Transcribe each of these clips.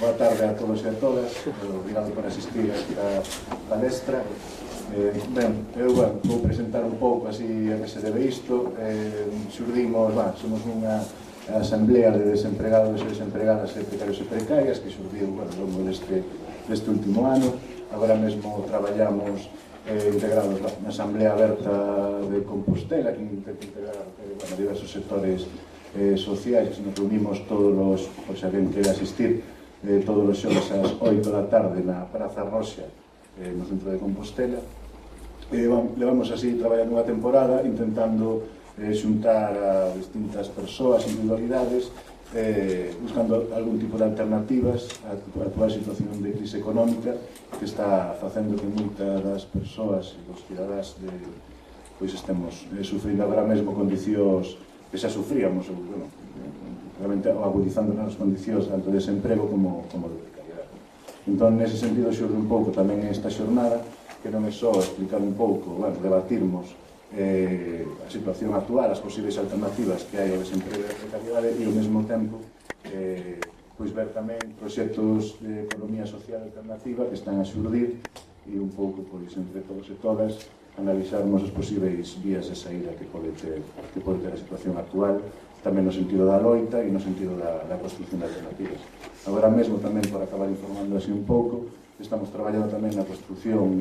Boa tarde a todos e a todas. Obrigado por asistir a esta palestra. Eu vou presentar un pouco así a que se debe isto. Somos unha asamblea de desempregados e desempregadas e precarios e precarias que xurdiu ao longo deste último ano. Agora mesmo traballamos integrados na Asamblea Aberta de Compostela, que intenta integrar diversos sectores sociais. Nos reunimos todos os, por se alguén quere asistir, todos os xoves ás 8 da tarde na Praza Roxa, no centro de Compostela. Levamos así traballando unha temporada intentando xuntar a distintas persoas, individualidades, buscando algún tipo de alternativas á actual situación de crise económica que está facendo que moitas das persoas e dos cidadáns estemos sufrindo agora mesmo condicións que xa sufríamos, realmente agudizando nas condicións tanto de desemprego como de precariedade. Entón, nese sentido, xurde un pouco tamén esta xornada, que non é só explicar un pouco, debatirmos a situación actual, as posibles alternativas que hai ao desemprego e a precariedade, e ao mesmo tempo ver tamén proxectos de economía social alternativa que están a xurdir e un pouco, entre todos e todas, analizarmos as posíveis vías de saída que pode ter a situación actual, tamén no sentido da loita e no sentido da construcción de alternativas. Agora mesmo tamén, por acabar informando así un pouco, estamos traballando tamén na construcción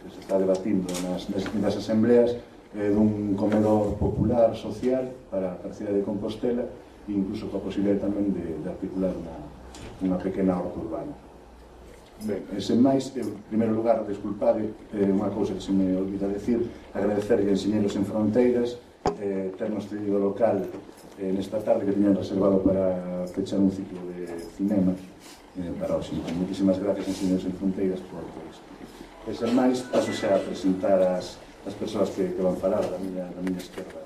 que se está debatindo nas distintas asambleas dun comedor popular social para a cidade de Compostela e incluso coa posibilidade tamén de articular unha pequena horta urbana. Ben, sen máis, en primeiro lugar, desculpade, unha cousa que se me olvida decir, agradecerlle a Enxeñeiros Sen Fronteiras ternos cedido o local nesta tarde que tiñan reservado para fechar un ciclo de cinema para hoxe. Moitísimas gracias, Enxeñeiros Sen Fronteiras, por isto. E sen máis, paso xa a presentar as persoas que van falar da miña esquerda.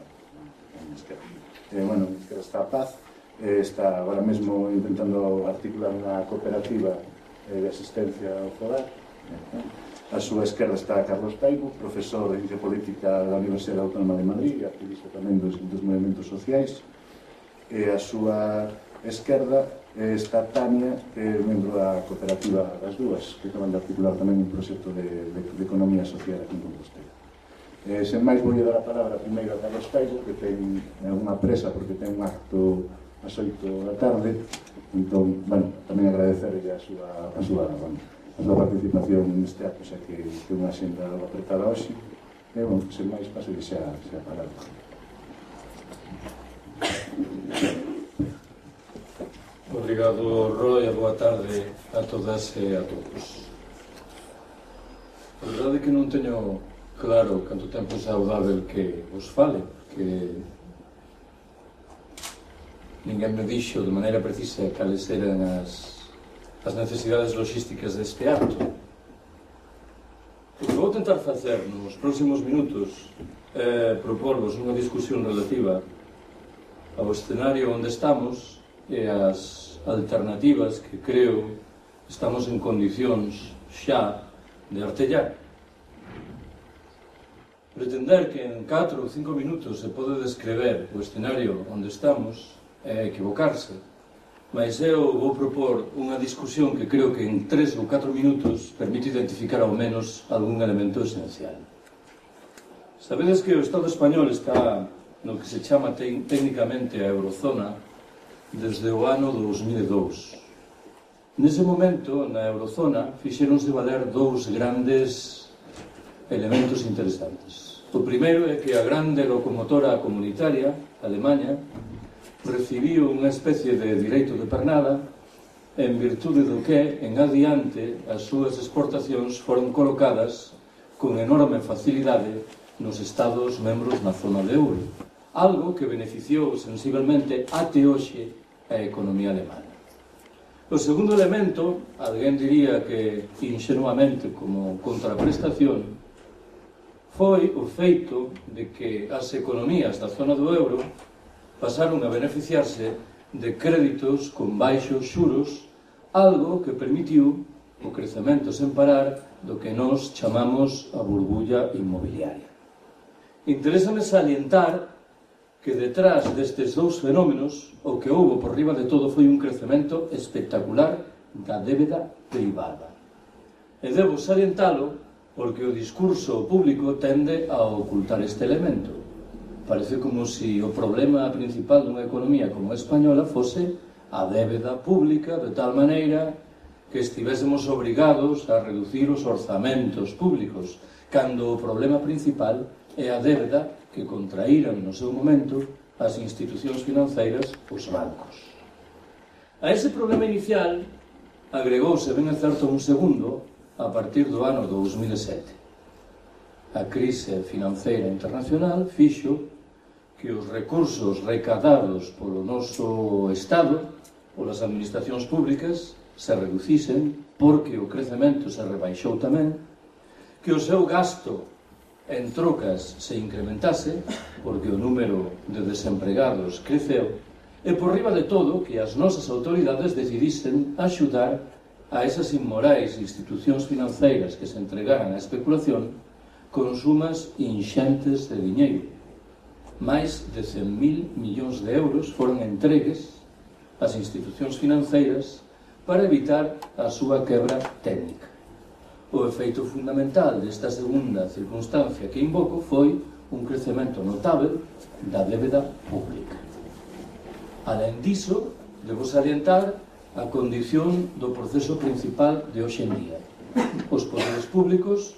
A esquerda está a Paz, está agora mesmo intentando articular unha cooperativa de asistencia ao fogar. A súa esquerda está Carlos Peibo, profesor de Ciencia Política da Universidade Autónoma de Madrid e activista tamén dos movimentos sociais. E a súa esquerda está Tania, que é membro da cooperativa das dúas, que acaban de articular tamén un proxecto de economía social aquí en Compostela. Sen máis, vou dar a palabra primeiro a Carlos Peibo, que ten unha presa porque ten un acto ás 8 da tarde. Entón, tamén agradecerlle a súa participación neste acto, xa que ten unha xenda logo apretada hoxe. E, sen máis, paso xa a palabra. Obrigado, Roy, e boa tarde a todas e a todos. A verdade é que non teño claro canto tempo é saudável que vos fale, porque ninguén me dixo de maneira precisa cales eran as necesidades logísticas deste acto. O que vou tentar facer nos próximos minutos é proporvos unha discusión relativa ao escenario onde estamos e as alternativas que creo estamos en condicións xa de artellar. Pretender que en 4 ou 5 minutos se pode descrever o escenario onde estamos é equivocarse, mas eu vou propor unha discusión que creo que en 3 ou 4 minutos permite identificar ao menos algún elemento esencial. Sabedes que o Estado español está no que se chama técnicamente a Eurozona desde o ano 2002. Nese momento, na Eurozona, fixéronse valer dous grandes elementos interesantes. O primeiro é que a grande locomotora comunitaria, Alemanha, recibiu unha especie de direito de pernada en virtude do que, en adiante, as súas exportacións foron colocadas con enorme facilidade nos Estados membros na zona de euro, algo que beneficiou sensiblemente até hoxe a economía alemana. O segundo elemento, alguén diría que ingenuamente como contraprestación, foi o feito de que as economías da zona do euro pasaron a beneficiarse de créditos con baixos xuros, algo que permitiu o crecemento sen parar do que nós chamamos a burbulla inmobiliaria. Interésame salientar que detrás destes dous fenómenos o que houbo por riba de todo foi un crecemento espectacular da débeda privada. E debo salientalo porque o discurso público tende a ocultar este elemento. Parece como se o problema principal dunha economía como a española fose a débeda pública, de tal maneira que estivésemos obrigados a reducir os orzamentos públicos, cando o problema principal é a débeda que contraíran no seu momento as institucións financeiras, os bancos. A ese problema inicial agregouse, ben é certo, un segundo a partir do ano 2007. A crise financeira internacional fixo que os recursos recadados polo noso Estado, polas administracións públicas, se reducisen porque o crecemento se rebaixou tamén, que o seu gasto en trocas se incrementase porque o número de desempregados creceu e por riba de todo que as nosas autoridades decidisen axudar a esas inmorais institucións financeiras que se entregaran á especulación con sumas inxentes de diñeiro. Mais de 100.000 millóns de euros foron entregues ás institucións financeiras para evitar a súa quebra técnica. O efeito fundamental desta segunda circunstancia que invoco foi un crecemento notável da débeda pública. Alén diso, debo salientar a condición do proceso principal de hoxe en día. Os poderes públicos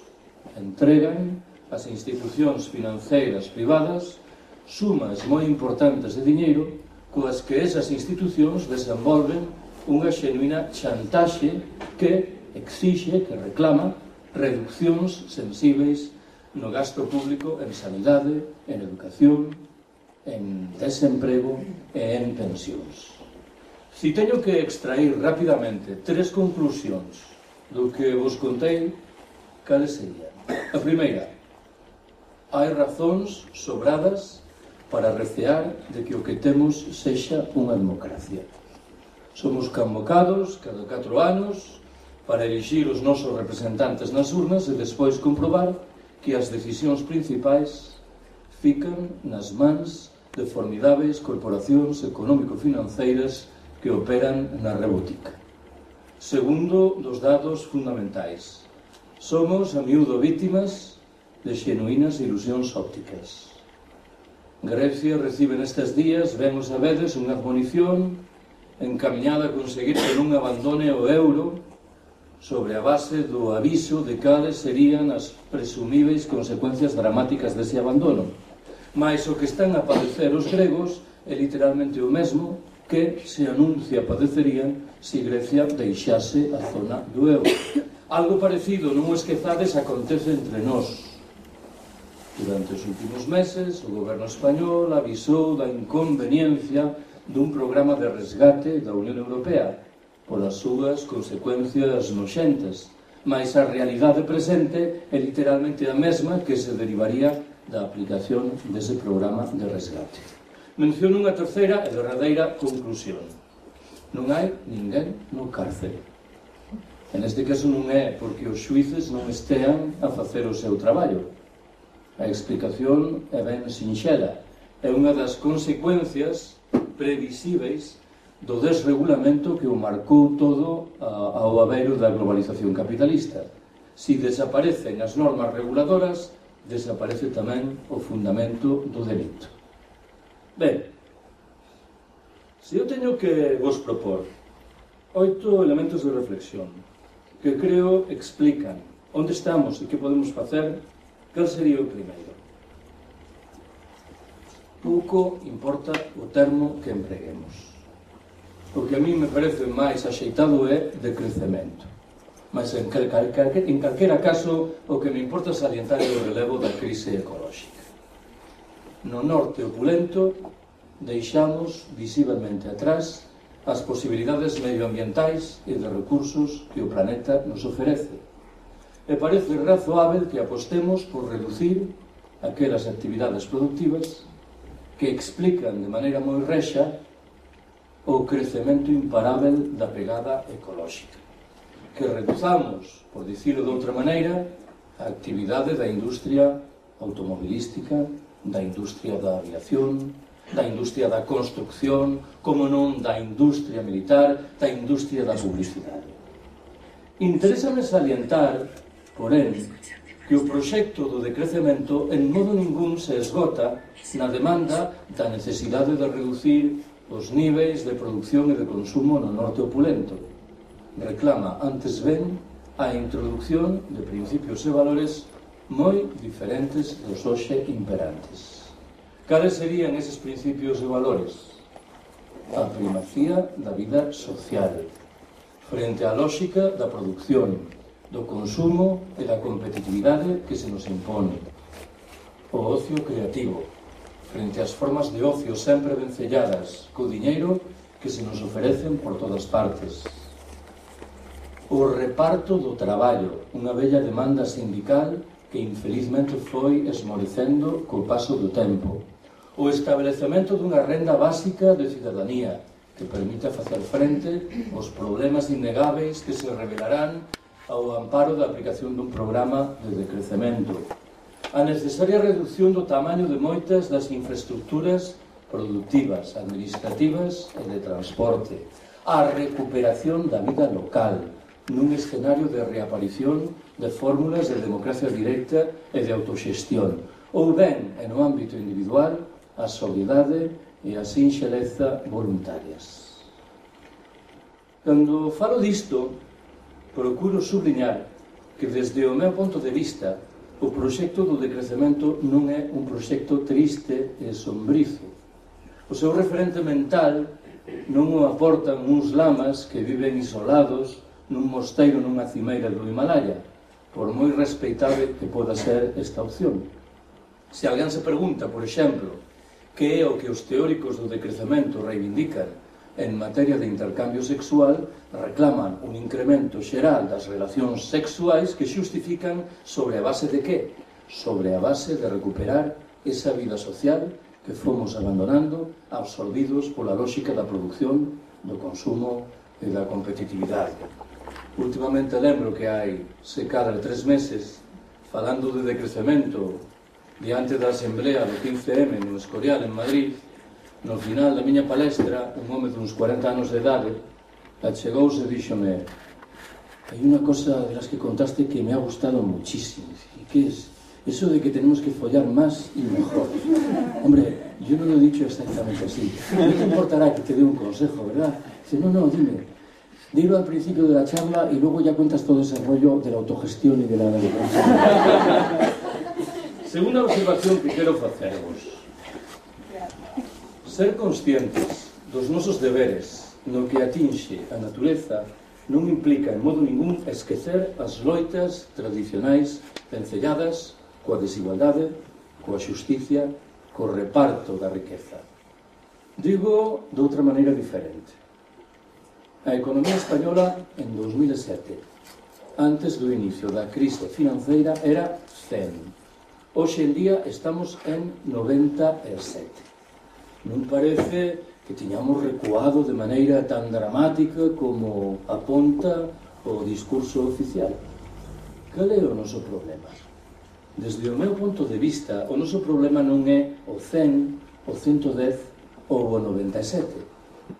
entregan ás institucións financeiras privadas sumas moi importantes de diñeiro coas que esas institucións desenvolven unha xenuína chantaxe que exixe, que reclama reduccións sensíveis no gasto público en sanidade, en educación, en desemprego e en pensións. Si teño que extrair rapidamente 3 conclusións do que vos contei, cales serían? A primeira, hai razóns sobradas para recear de que o que temos sexa unha democracia. Somos convocados cada 4 anos para elixir os nosos representantes nas urnas e despois comprobar que as decisións principais fican nas mans de formidáveis corporacións económico-financeiras que operan na rebótica. Segundo dos dados fundamentais, somos a miúdo vítimas de xenuínas ilusións ópticas. Grecia recibe nestes días, ben o sabedes, unha admonición encamiñada a conseguir que non abandone o euro sobre a base do aviso de cales serían as presumíveis consecuencias dramáticas dese abandono. Mais o que están a padecer os gregos é literalmente o mesmo que se anuncia padecerían se Grecia deixase a zona do euro. Algo parecido, non o esquezades, acontece entre nós. Durante os últimos meses, o goberno español avisou da inconveniencia dun programa de resgate da Unión Europea polas súas consecuencias noxentas, mas a realidade presente é literalmente a mesma que se derivaría da aplicación dese programa de resgate. Menciono unha terceira e derradeira conclusión. Non hai ninguén no cárcere. En este caso non é porque os xuíces non estean a facer o seu traballo. A explicación é ben sinxela. É unha das consecuencias previsíveis do desregulamento que o marcou todo ao abeiro da globalización capitalista. Si desaparecen as normas reguladoras, desaparece tamén o fundamento do delito. Ben, se eu teño que vos propor 8 elementos de reflexión que creo explican onde estamos e que podemos facer, cal sería o primeiro? Pouco importa o termo que empreguemos. O que a mí me parece máis axeitado é de crecemento. Mas en calquera caso, o que me importa salientar é o relevo da crise ecolóxica. No norte opulento, deixamos visiblemente atrás as posibilidades medioambientais e de recursos que o planeta nos oferece. E parece razoável que apostemos por reducir aquelas actividades productivas que explican de maneira moi rexa o crecemento imparável da pegada ecolóxica. Que reduzamos, por dicilo de outra maneira, a actividade da industria automobilística, da industria da aviación, da industria da construcción, como non da industria militar, da industria da publicidade. Interésame salientar, porén, que o proxecto do decrecemento en modo ningún se esgota na demanda da necesidade de reducir os niveis de producción e de consumo no norte opulento. Reclama, antes ben, a introducción de principios e valores moi diferentes dos hoxe imperantes. Cales serían eses principios e valores? A primacía da vida social, frente á lógica da produción, do consumo e da competitividade que se nos impone. O ocio creativo, frente ás formas de ocio sempre vencelladas co diñeiro que se nos ofrecen por todas partes. O reparto do traballo, unha bella demanda sindical que infelizmente foi esmorecendo co paso do tempo. O establecemento dunha renda básica de cidadanía que permita facer frente aos problemas innegáveis que se revelarán ao amparo da aplicación dun programa de decrecemento. A necesaria reducción do tamaño de moitas das infraestructuras productivas, administrativas e de transporte. A recuperación da vida local, nun escenario de reaparición de fórmulas de democracia directa e de autoxestión, ou ben, en o ámbito individual, a sobriedade e a sinxeleza voluntarias. Cando falo disto, procuro subliñar que desde o meu ponto de vista o proxecto do decrecemento non é un proxecto triste e sombrizo. O seu referente mental non o aportan uns lamas que viven isolados nun mosteiro nunha cimeira do Himalaya, por moi respeitable que poda ser esta opción. Se alguén se pregunta, por exemplo, que é o que os teóricos do decrecemento reivindican en materia de intercambio sexual, reclaman un incremento xeral das relacións sexuais que xustifican sobre a base de que? Sobre a base de recuperar esa vida social que fomos abandonando, absorbidos pola lógica da produción, do consumo e da competitividade. Últimamente lembro que hai, se cadra 3 meses, falando de decrecemento diante da Asamblea do 15M no Escorial, en Madrid, no final da miña palestra, un home duns 40 anos de idade achegouse e díxome: hai unha cosa de las que contaste que me ha gustado muchísimo. ¿Y qué es? Eso de que tenemos que follar más y mejor. Hombre, yo no lo he dicho exactamente así. No te importará que te dé un consejo, ¿verdad? Dice, no, dime. Dilo al principio de la charla y luego ya cuentas todo ese rollo de la autogestión y de la democracia. Segunda observación que quero facervos. Ser conscientes dos nosos deberes no que atinxe a natureza non implica en modo ningún esquecer as loitas tradicionais vencelladas coa desigualdade, coa xusticia, co reparto da riqueza. Digo de outra maneira diferente. A economía española en 2007, antes do inicio da crise financeira, era 100. Hoxe en día estamos en 97. Non parece que tiñamos recuado de maneira tan dramática como aponta o discurso oficial. Cal é o noso problema? Desde o meu punto de vista, o noso problema non é o 100, o 110 ou o 97.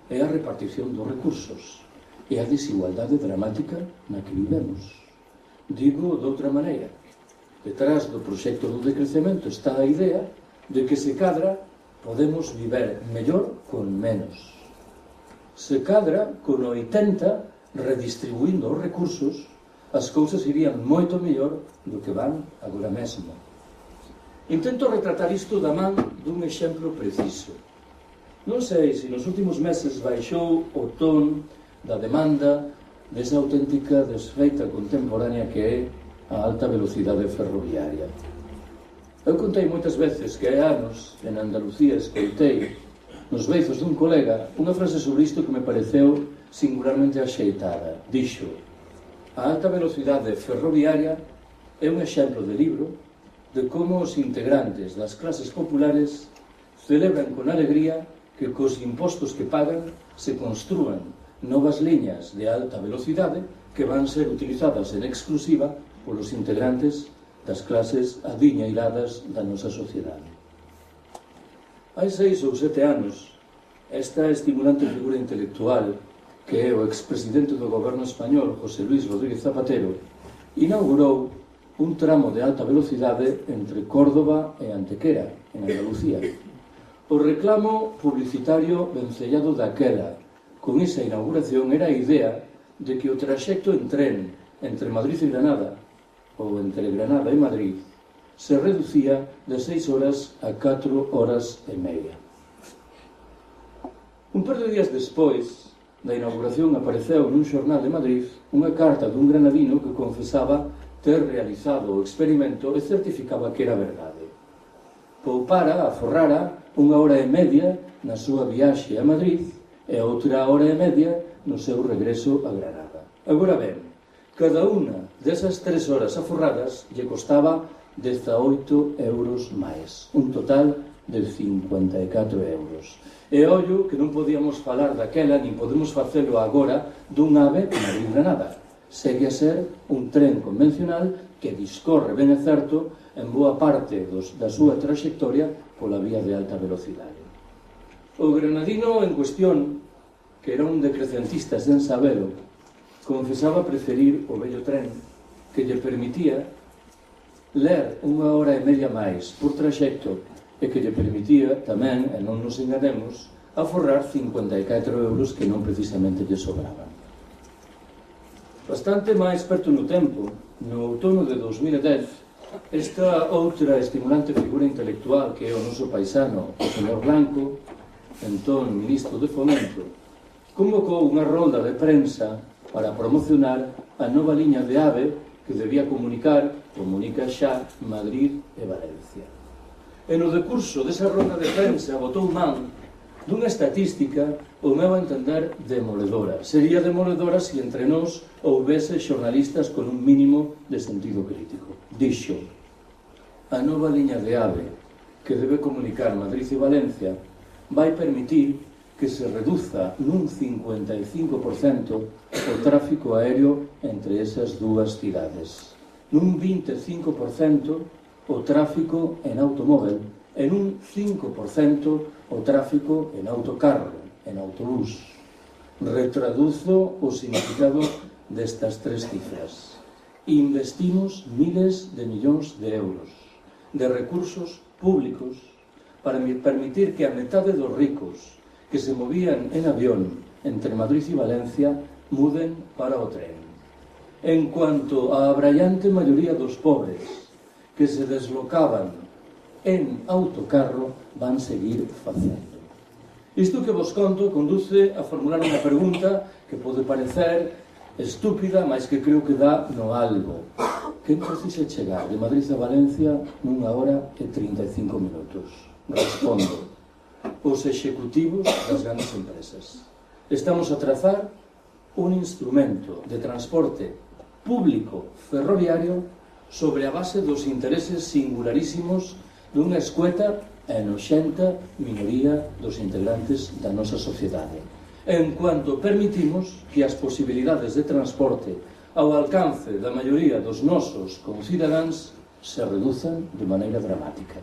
É a repartición dos recursos, é a desigualdade dramática na que vivemos. Digo de outra maneira, detrás do proxecto do decrecemento está a idea de que se cadra podemos viver mellor con menos. Se cadra con 80 redistribuindo os recursos, as cousas irían moito mellor do que van agora mesmo. Intento retratar isto da man dun exemplo preciso. Non sei se nos últimos meses baixou o ton da demanda desa auténtica desfeita contemporánea que é a alta velocidade ferroviaria. Eu contei moitas veces que hai anos, en Andalucía, escoitei nos beizos dun colega unha frase sobre isto que me pareceu singularmente axeitada. Dixo: a alta velocidade ferroviaria é un exemplo de libro de como os integrantes das clases populares celebran con alegría que cos impostos que pagan se construan novas liñas de alta velocidade que van ser utilizadas en exclusiva polos integrantes das clases adiñeiradas da nosa sociedade. Hai 6 ou 7 anos, esta estimulante figura intelectual, que é o expresidente do goberno español, José Luis Rodríguez Zapatero, inaugurou un tramo de alta velocidade entre Córdoba e Antequera, en Andalucía. O reclamo publicitario vencellado daquela con esa inauguración era a idea de que o traxecto en tren entre Madrid e Granada, ou entre Granada e Madrid, se reducía de 6 horas a 4 horas e media. Un par de días despois da inauguración apareceu nun xornal de Madrid unha carta dun granadino que confesaba ter realizado o experimento e certificaba que era verdade. Poupara, aforrara, 1 hora e media na súa viaxe a Madrid e outra hora e media no seu regreso a Granada. Agora ben, cada unha desas 3 horas aforradas lle costaba 18 euros máis, un total de 54 euros. E ollo que non podíamos falar daquela, nin podemos facelo agora, dun AVE Madrid-Granada. Segue a ser un tren convencional que discorre, ben é certo, en boa parte da súa traxectoria pola vía de alta velocidade. O granadino en cuestión, que era un decrecentista sen sabelo, confesaba preferir o vello tren que lle permitía ler 1 hora e media máis por traxecto e que lle permitía tamén, e non nos enganemos, aforrar 54 euros que non precisamente lle sobraban. Bastante máis perto no tempo, no outono de 2010, esta outra estimulante figura intelectual que é o noso paisano, o señor Blanco, entón ministro de Fomento, convocou unha rolda de prensa para promocionar a nova liña de AVE que debía comunica xa Madrid e Valencia. E no decurso desa rolda de prensa botou man dunha estatística, o meu entender, demoledora. Sería demoledora se entre nós houvese xornalistas con un mínimo de sentido crítico. Dixo: a nova liña de AVE que debe comunicar Madrid e Valencia vai permitir que se reduza nun 55% o tráfico aéreo entre esas dúas cidades, nun 25% o tráfico en automóvel e nun 5% o tráfico en autocarro, en autobús. Retraduzo o significado destas 3 cifras. Investimos miles de millóns de euros de recursos públicos para permitir que a metade dos ricos que se movían en avión entre Madrid e Valencia muden para o tren. En cuanto á abraiante maioría dos pobres que se deslocaban en autocarro, van seguir facendo. Isto que vos conto conduce a formular unha pregunta que pode parecer estúpida, mas que creo que dá no algo. Quen precisa chegar de Madrid a Valencia 1 hora e 35 minutos? Respondo: os executivos das grandes empresas. Estamos a trazar un instrumento de transporte público ferroviario sobre a base dos intereses singularísimos dunha escueta e noxenta minoría dos integrantes da nosa sociedade. En cuanto permitimos que as posibilidades de transporte ao alcance da maioría dos nosos concidadáns se reduzan de maneira dramática.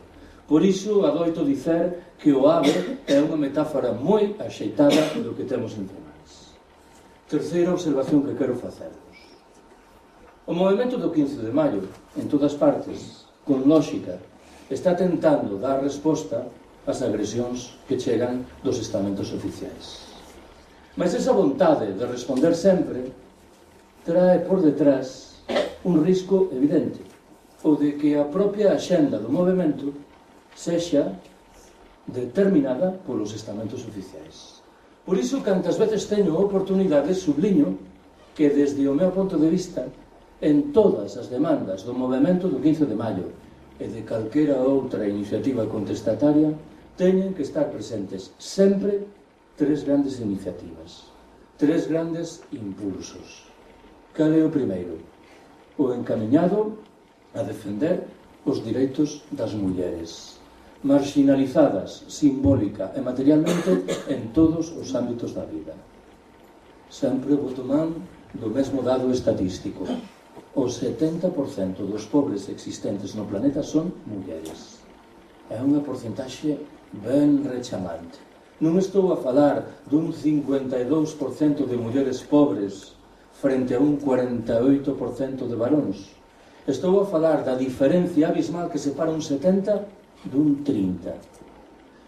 Por iso adoito dicer que o AVE é unha metáfora moi axeitada do que temos entre nós. Terceira observación que quero facervos. O movimento do 15 de maio, en todas partes, con lógica, está tentando dar resposta ás agresións que chegan dos estamentos oficiais. Mas esa vontade de responder sempre trae por detrás un risco evidente, o de que a propia axenda do movimento sexa determinada polos estamentos oficiais. Por iso, cantas veces teño oportunidade, subliño que desde o meu ponto de vista, en todas as demandas do movimento do 15 de maio e de calquera outra iniciativa contestataria, teñen que estar presentes sempre 3 grandes iniciativas, 3 grandes impulsos. Cal é o primeiro? O encamiñado a defender os direitos das mulleres, marginalizadas simbólica e materialmente en todos os ámbitos da vida. Sempre boto man do mesmo dado estatístico. O 70% dos pobres existentes no planeta son mulleres. É unha porcentaxe ben rechamante. Non estou a falar dun 52% de mulleres pobres frente a un 48% de varóns. Estou a falar da diferencia abismal que separa un 70 dun 30.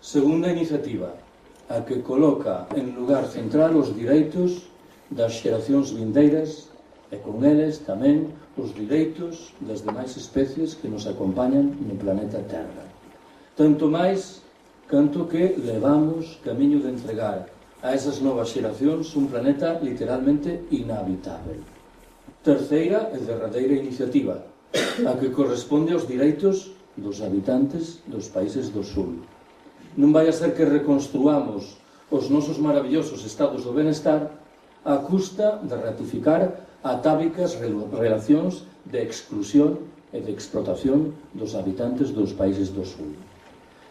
Segunda iniciativa, a que coloca en lugar central os direitos das xeracións vindeiras e con eles tamén os direitos das demais especies que nos acompañan no planeta Terra. Tanto máis canto que levamos camiño de entregar a esas novas xeracións un planeta literalmente inhabitável. Terceira e derradeira iniciativa, a que corresponde aos direitos dos habitantes dos países do Sul. Non vai a ser que reconstruamos os nosos maravillosos estados do benestar a custa de ratificar atávicas relacións de exclusión e de explotación dos habitantes dos países do Sul.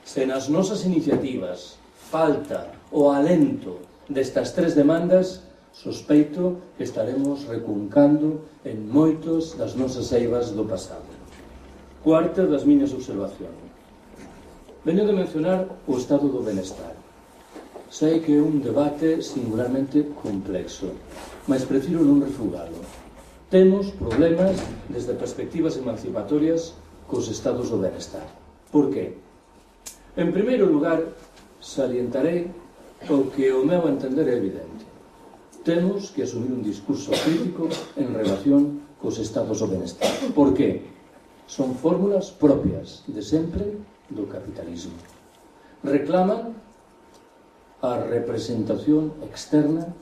Se nas nosas iniciativas falta o alento destas tres demandas, sospeito que estaremos recuncando en moitos das nosas eivas do pasado. Cuarta das miñas observacións. Veño de mencionar o estado do benestar. Sei que é un debate singularmente complexo, mas prefiro non refugalo. Temos problemas desde perspectivas emancipatorias cos estados do benestar. Por qué? En primeiro lugar, salientarei o que o meu entender é evidente. Temos que asumir un discurso crítico en relación cos estados do benestar. Por qué? Son fórmulas propias de sempre do capitalismo. Reclaman a representación externa,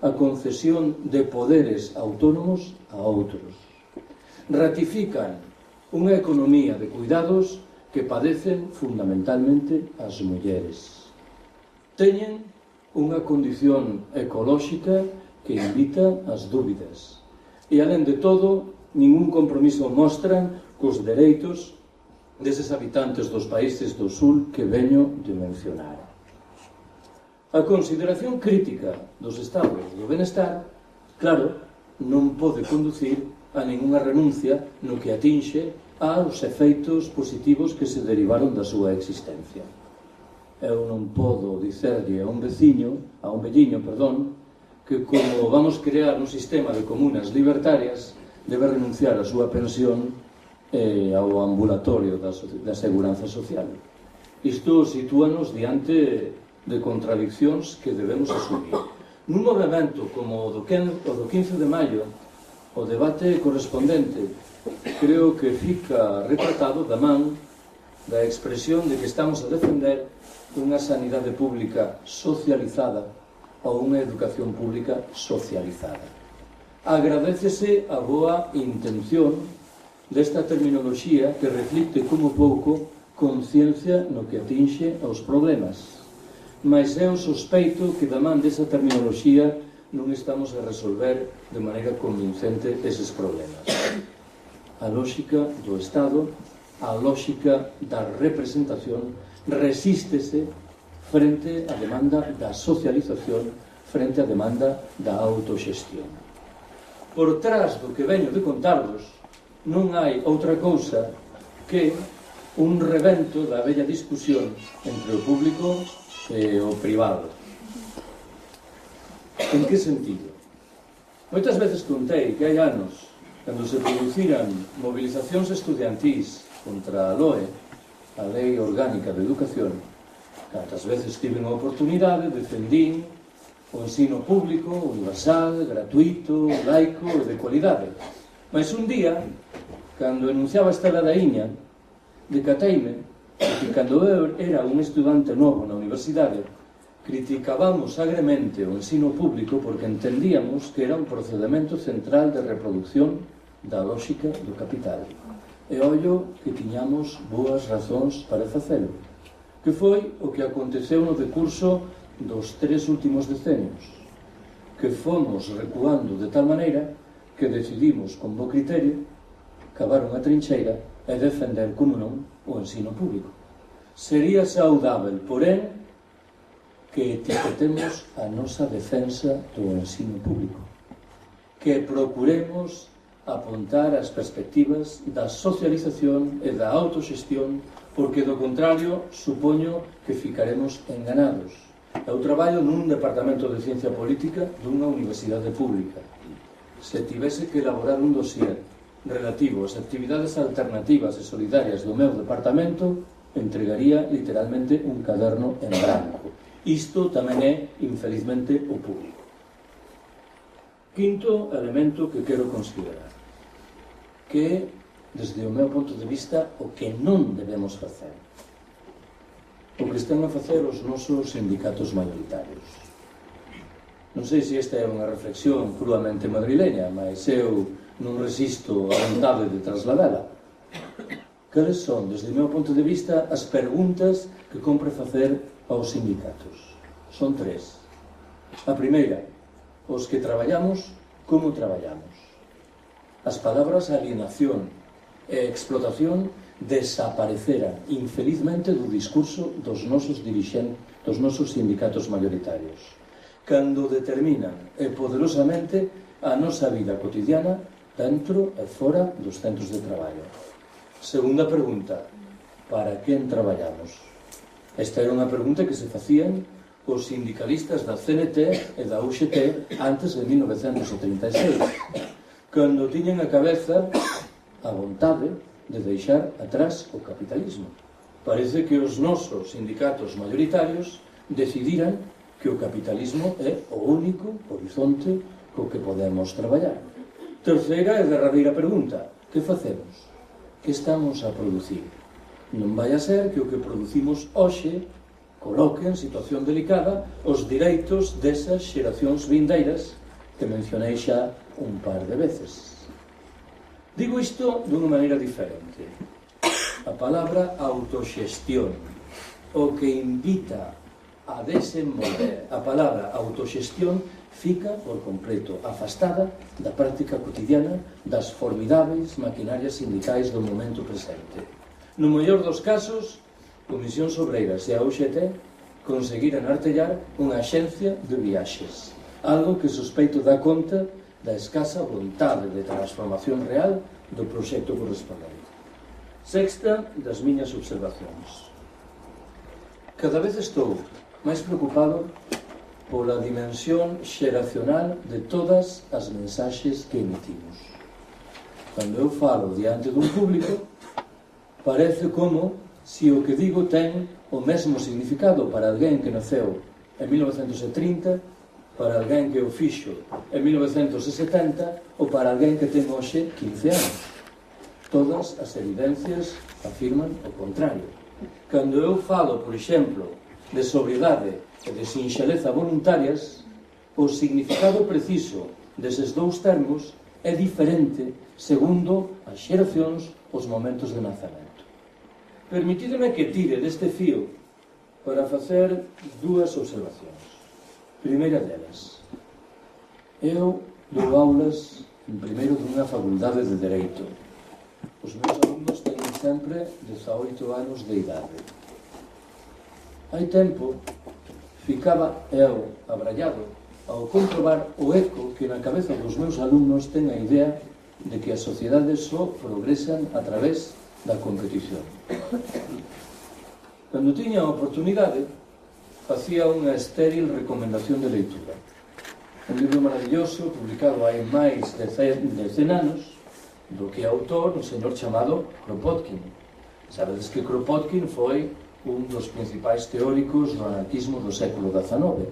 a concesión de poderes autónomos a outros. Ratifican unha economía de cuidados que padecen fundamentalmente as mulleres. Teñen unha condición ecolóxica que invita ás dúbidas. E, alén de todo, ningún compromiso mostran cos dereitos deses habitantes dos países do Sul que veño de mencionar. A consideración crítica dos estados do benestar, claro, non pode conducir a ningunha renuncia no que atinxe aos efeitos positivos que se derivaron da súa existencia. Eu non podo dicerlle a un velliño, que como vamos crear un sistema de comunas libertarias, debe renunciar á súa pensión e ao ambulatorio da seguranza social. Isto sitúanos diante de contradiccións que debemos asumir. Nun movimento como o do 15 de maio, o debate correspondente creo que fica retratado da man da expresión de que estamos a defender unha sanidade pública socializada ou unha educación pública socializada. Agradécese a boa intención desta terminoloxía que reflicte como pouco conciencia no que atinxe aos problemas, mas eu sospeito que da man desa terminoloxía non estamos a resolver de maneira convincente eses problemas. A lógica do Estado, a lógica da representación, resístese frente á demanda da socialización, frente á demanda da autoxestión. Por trás do que veño de contarvos, non hai outra cousa que un revento da bella discusión entre o público e o privado. En que sentido? Moitas veces contei que hai anos, cando se produciran movilizacións estudiantís contra a LOE, a Lei Orgánica de Educación, cantas veces tiven a oportunidade, defendín o ensino público, universal, gratuito, laico e de cualidade. Mas un día, cando enunciaba esta ladaíña, decateime que cando eu era un estudante novo na universidade, criticábamos agremente o ensino público porque entendíamos que era un procedimento central de reproducción da lógica do capital. E ollo que tiñamos boas razóns para facelo, que foi o que aconteceu no decurso dos 3 últimos decenios, que fomos recuando de tal maneira que decidimos con bo criterio cavar unha trincheira e defender, como non, o ensino público. Sería saudável, porén, que etiquetemos a nosa defensa do ensino público, que procuremos apontar as perspectivas da socialización e da autoxestión porque do contrario supoño que ficaremos enganados. Eu traballo nun departamento de ciencia política dunha universidade pública. Se tivese que elaborar un dossier relativo ás actividades alternativas e solidarias do meu departamento, entregaría literalmente un caderno en branco. Isto tamén é, infelizmente, o público. Quinto elemento que quero considerar, que é, desde o meu ponto de vista, o que non debemos facer. O que están a facer os nosos sindicatos maioritarios. Non sei se esta é unha reflexión cruamente madrileña, mas eu non resisto a vontade de trasladala. Cales son, desde o meu ponto de vista, as preguntas que compre facer aos sindicatos? Son tres. A primeira, os que traballamos, como traballamos? As palabras alienación e explotación desapareceran infelizmente do discurso dos nosos dirixentes, dos nosos sindicatos maioritarios, cando determinan poderosamente a nosa vida cotidiana dentro e fora dos centros de traballo. Segunda pregunta, para quen traballamos? Esta era unha pregunta que se facían os sindicalistas da CNT e da UGT antes de 1936, cando tiñan a cabeza a vontade de deixar atrás o capitalismo. Parece que os nosos sindicatos maioritarios decidiran que o capitalismo é o único horizonte co que podemos traballar. Terceira e derradeira pregunta, que facemos? Que estamos a producir? Non vai a ser que o que producimos hoxe coloque en situación delicada os direitos desas xeracións vindeiras que mencionei xa un par de veces. Digo isto dunha maneira diferente. A palabra autoxestión, o que invita a desenvolver a palabra autoxestión, fica por completo afastada da práctica cotidiana das formidáveis maquinarias sindicais do momento presente. No mellor dos casos, Comisións Obreiras e a UGT conseguiran artellar unha axencia de viaxes, algo que sospeito dá conta da escasa vontade de transformación real do proxecto correspondente. Sexta das miñas observacións. Cada vez estou máis preocupado pola dimensión xeracional de todas as mensaxes que emitimos. Cando eu falo diante dun público, parece como se o que digo ten o mesmo significado para alguén que naceu en 1930, para alguén que o fixo en 1970 ou para alguén que ten hoxe 15 anos. Todas as evidencias afirman o contrario. Cando eu falo, por exemplo, de sobriedade e de sinxeleza voluntarias, o significado preciso deses dous termos é diferente segundo as xeracións, os momentos de nacemento. Permitídeme que tire deste fío para facer dúas observacións. Primeira delas, eu dou aulas en primeiro dunha facultade de Dereito. Os meus alumnos teñen sempre 18 anos de idade. Hai tempo, ficaba eu abrallado ao comprobar o eco que na cabeza dos meus alumnos ten a idea de que as sociedades só progresan a través da competición. Cando tiña a oportunidade, facía unha estéril recomendación de leitura. Un libro maravilloso, publicado hai máis de 100 anos, do que é autor un señor chamado Kropotkin. Sabedes que Kropotkin foi un dos principais teóricos do anarquismo do século XIX,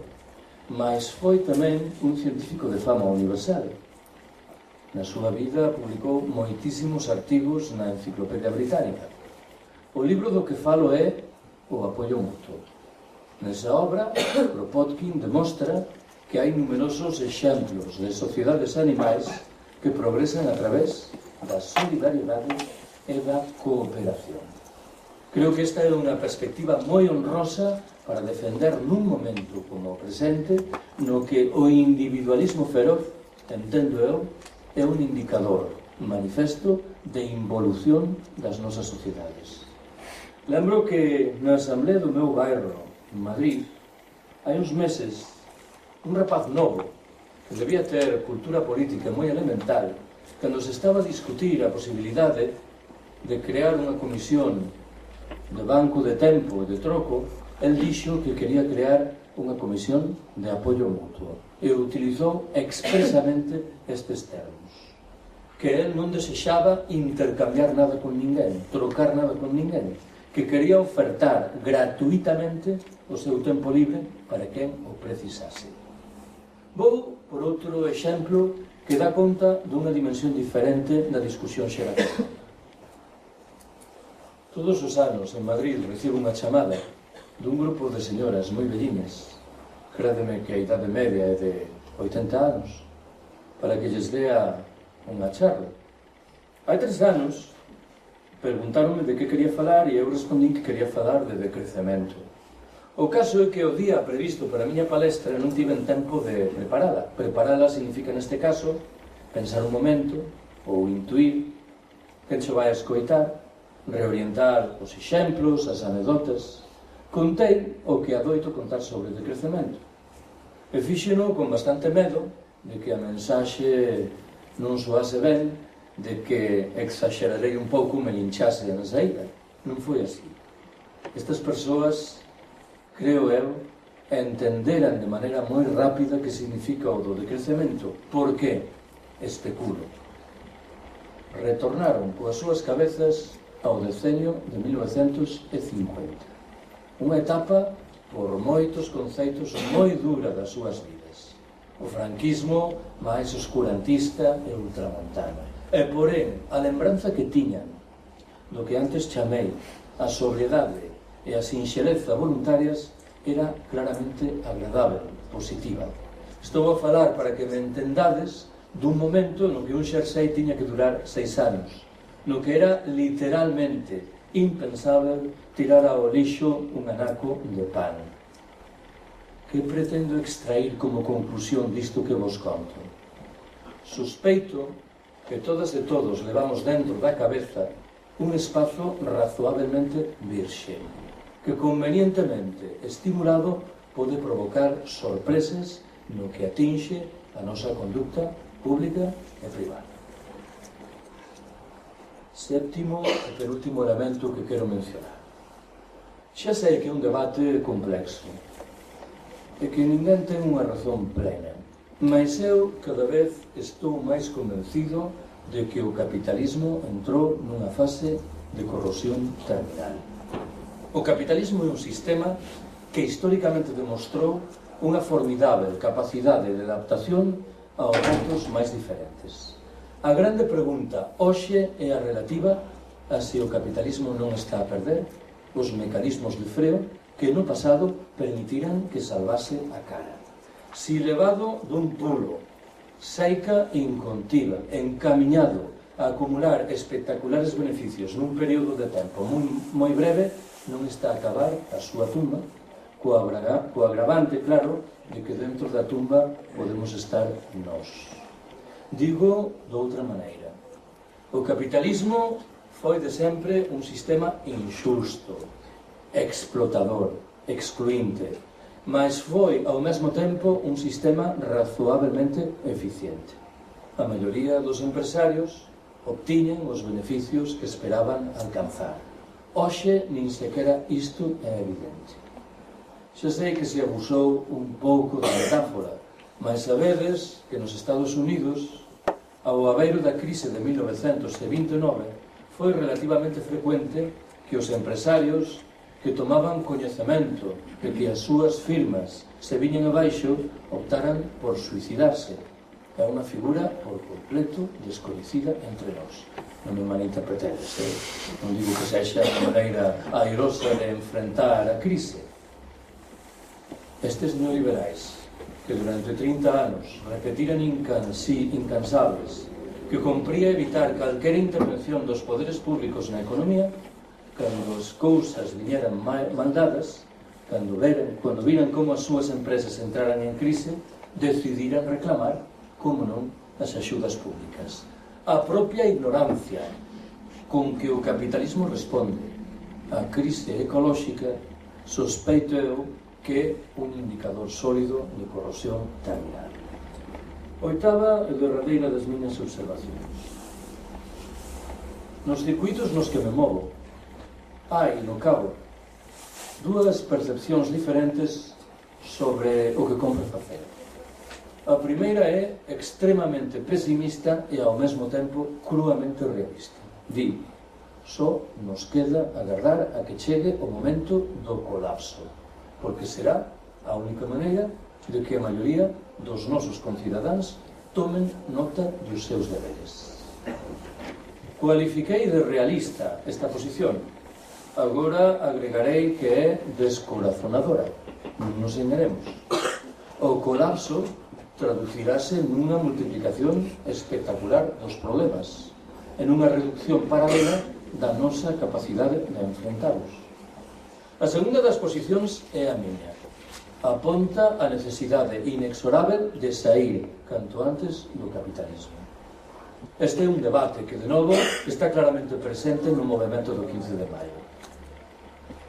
mas foi tamén un científico de fama universal. Na súa vida publicou moitísimos artigos na Enciclopedia Británica. O libro do que falo é O apoio mutuo. Nesa obra, Kropotkin demostra que hai numerosos exemplos de sociedades animais que progresan a través da solidariedade e da cooperación. Creo que esta é unha perspectiva moi honrosa para defender nun momento como o presente no que o individualismo feroz, entendo eu, é un indicador manifesto de involución das nosas sociedades. Lembro que na asamblea do meu bairro, en Madrid, hai uns meses, un rapaz novo, que debía ter cultura política moi elemental, cando se estaba a discutir a posibilidade de crear unha comisión de banco de tempo e de troco, el dixo que quería crear unha comisión de apoio mutuo e utilizou expresamente estes termos, que el non desexaba intercambiar nada con ninguén, trocar nada con ninguén, que quería ofertar gratuitamente o seu tempo libre para quen o precisase. Vou por outro exemplo que dá conta dunha dimensión diferente da discusión xeracional. Todos os anos en Madrid recibo unha chamada dun grupo de señoras moi vellinas, crédeme que a idade media é de 80 anos, para que lles dea unha charla. Hai 3 anos preguntaronme de que quería falar e eu respondín que quería falar de decrecemento. O caso é que o día previsto para a miña palestra non tiven tempo de preparala. Preparala significa neste caso pensar un momento ou intuir que se vai a escoitar, reorientar os exemplos, as anedotas. Contei o que adoito contar sobre o decrecemento e fíxeno con bastante medo de que a mensaxe non soase ben, de que exagerarei un pouco me linchase na saída. Non foi así. Estas persoas, creo eu, entenderan de maneira moi rápida que significa o do decrecemento. Por que? Especulo. Retornaron coas súas cabezas ao decenio de 1950. Unha etapa por moitos conceitos moi dura das súas vidas. O franquismo máis oscurantista e ultramontana. E, porén, a lembranza que tiñan do que antes chamei a sobriedade e a sinxeleza voluntarias era claramente agradável, positiva. Estou a falar para que me entendades dun momento no que un xersei tiña que durar 6 anos, no que era literalmente impensável tirar ao lixo un anaco de pan. Que pretendo extrair como conclusión disto que vos conto? Sospeito que todas e todos levamos dentro da cabeza un espazo razoablemente virxe, que convenientemente estimulado pode provocar sorpresas no que atinxe a nosa conducta pública e privada. Séptimo e penúltimo elemento que quero mencionar. Xa sei que é un debate complexo e que ninguén ten unha razón plena, mas eu cada vez estou máis convencido de que o capitalismo entrou nunha fase de corrosión terminal. O capitalismo é un sistema que históricamente demostrou unha formidável capacidade de adaptación aos retos máis diferentes. A grande pregunta hoxe é a relativa a se o capitalismo non está a perder os mecanismos de freo que no pasado permitiran que salvase a cara. Si levado dun pulo, seica incontiva, encamiñado a acumular espectaculares beneficios nun período de tempo moi breve, non está a acabar a súa tumba, co agravante, claro, de que dentro da tumba podemos estar nós. Digo de outra maneira. O capitalismo foi de sempre un sistema inxusto, explotador, excluinte, mas foi ao mesmo tempo un sistema razoablemente eficiente. A maioría dos empresarios obtiñen os beneficios que esperaban alcanzar. Hoxe nin sequera isto é evidente. Xa sei que se abusou un pouco da metáfora, mas sabedes que nos Estados Unidos, ao abeiro da crise de 1929, foi relativamente frecuente que os empresarios que tomaban coñecemento de que as súas firmas se viñen abaixo optaran por suicidarse. É unha figura por completo descoñecida entre nós. Non me malinterpretedes, non digo que sexa unha maneira airosa de enfrentar a crise. Estes neoliberais que durante 30 anos repetiran incansables que compría evitar calquera intervención dos poderes públicos na economía, cando as cousas viñeran mal dadas, cando viran como as súas empresas entraran en crise, decidiran reclamar, como non, as axudas públicas. A propia ignorancia con que o capitalismo responde á crise ecolóxica, sospeito eu que é un indicador sólido de corrosión terminal. Oitava e derradeira das miñas observacións. Nos circuitos nos que me movo, hai, no cabo, dúas percepcións diferentes sobre o que compre facer. A primeira é extremamente pesimista e ao mesmo tempo cruamente realista. Di, só nos queda agardar a que chegue o momento do colapso, porque será a única maneira de que a maioría dos nosos concidadáns tomen nota dos seus deberes. Cualifiquei de realista esta posición. Agora agregarei que é descorazonadora. Non nos enganemos. O colapso traducirase nunha multiplicación espectacular dos problemas, en unha reducción paralela da nosa capacidade de enfrentalos. A segunda das posicións é a miña. Aponta a necesidade inexorável de sair canto antes do capitalismo. Este é un debate que, de novo, está claramente presente no movimento do 15 de maio.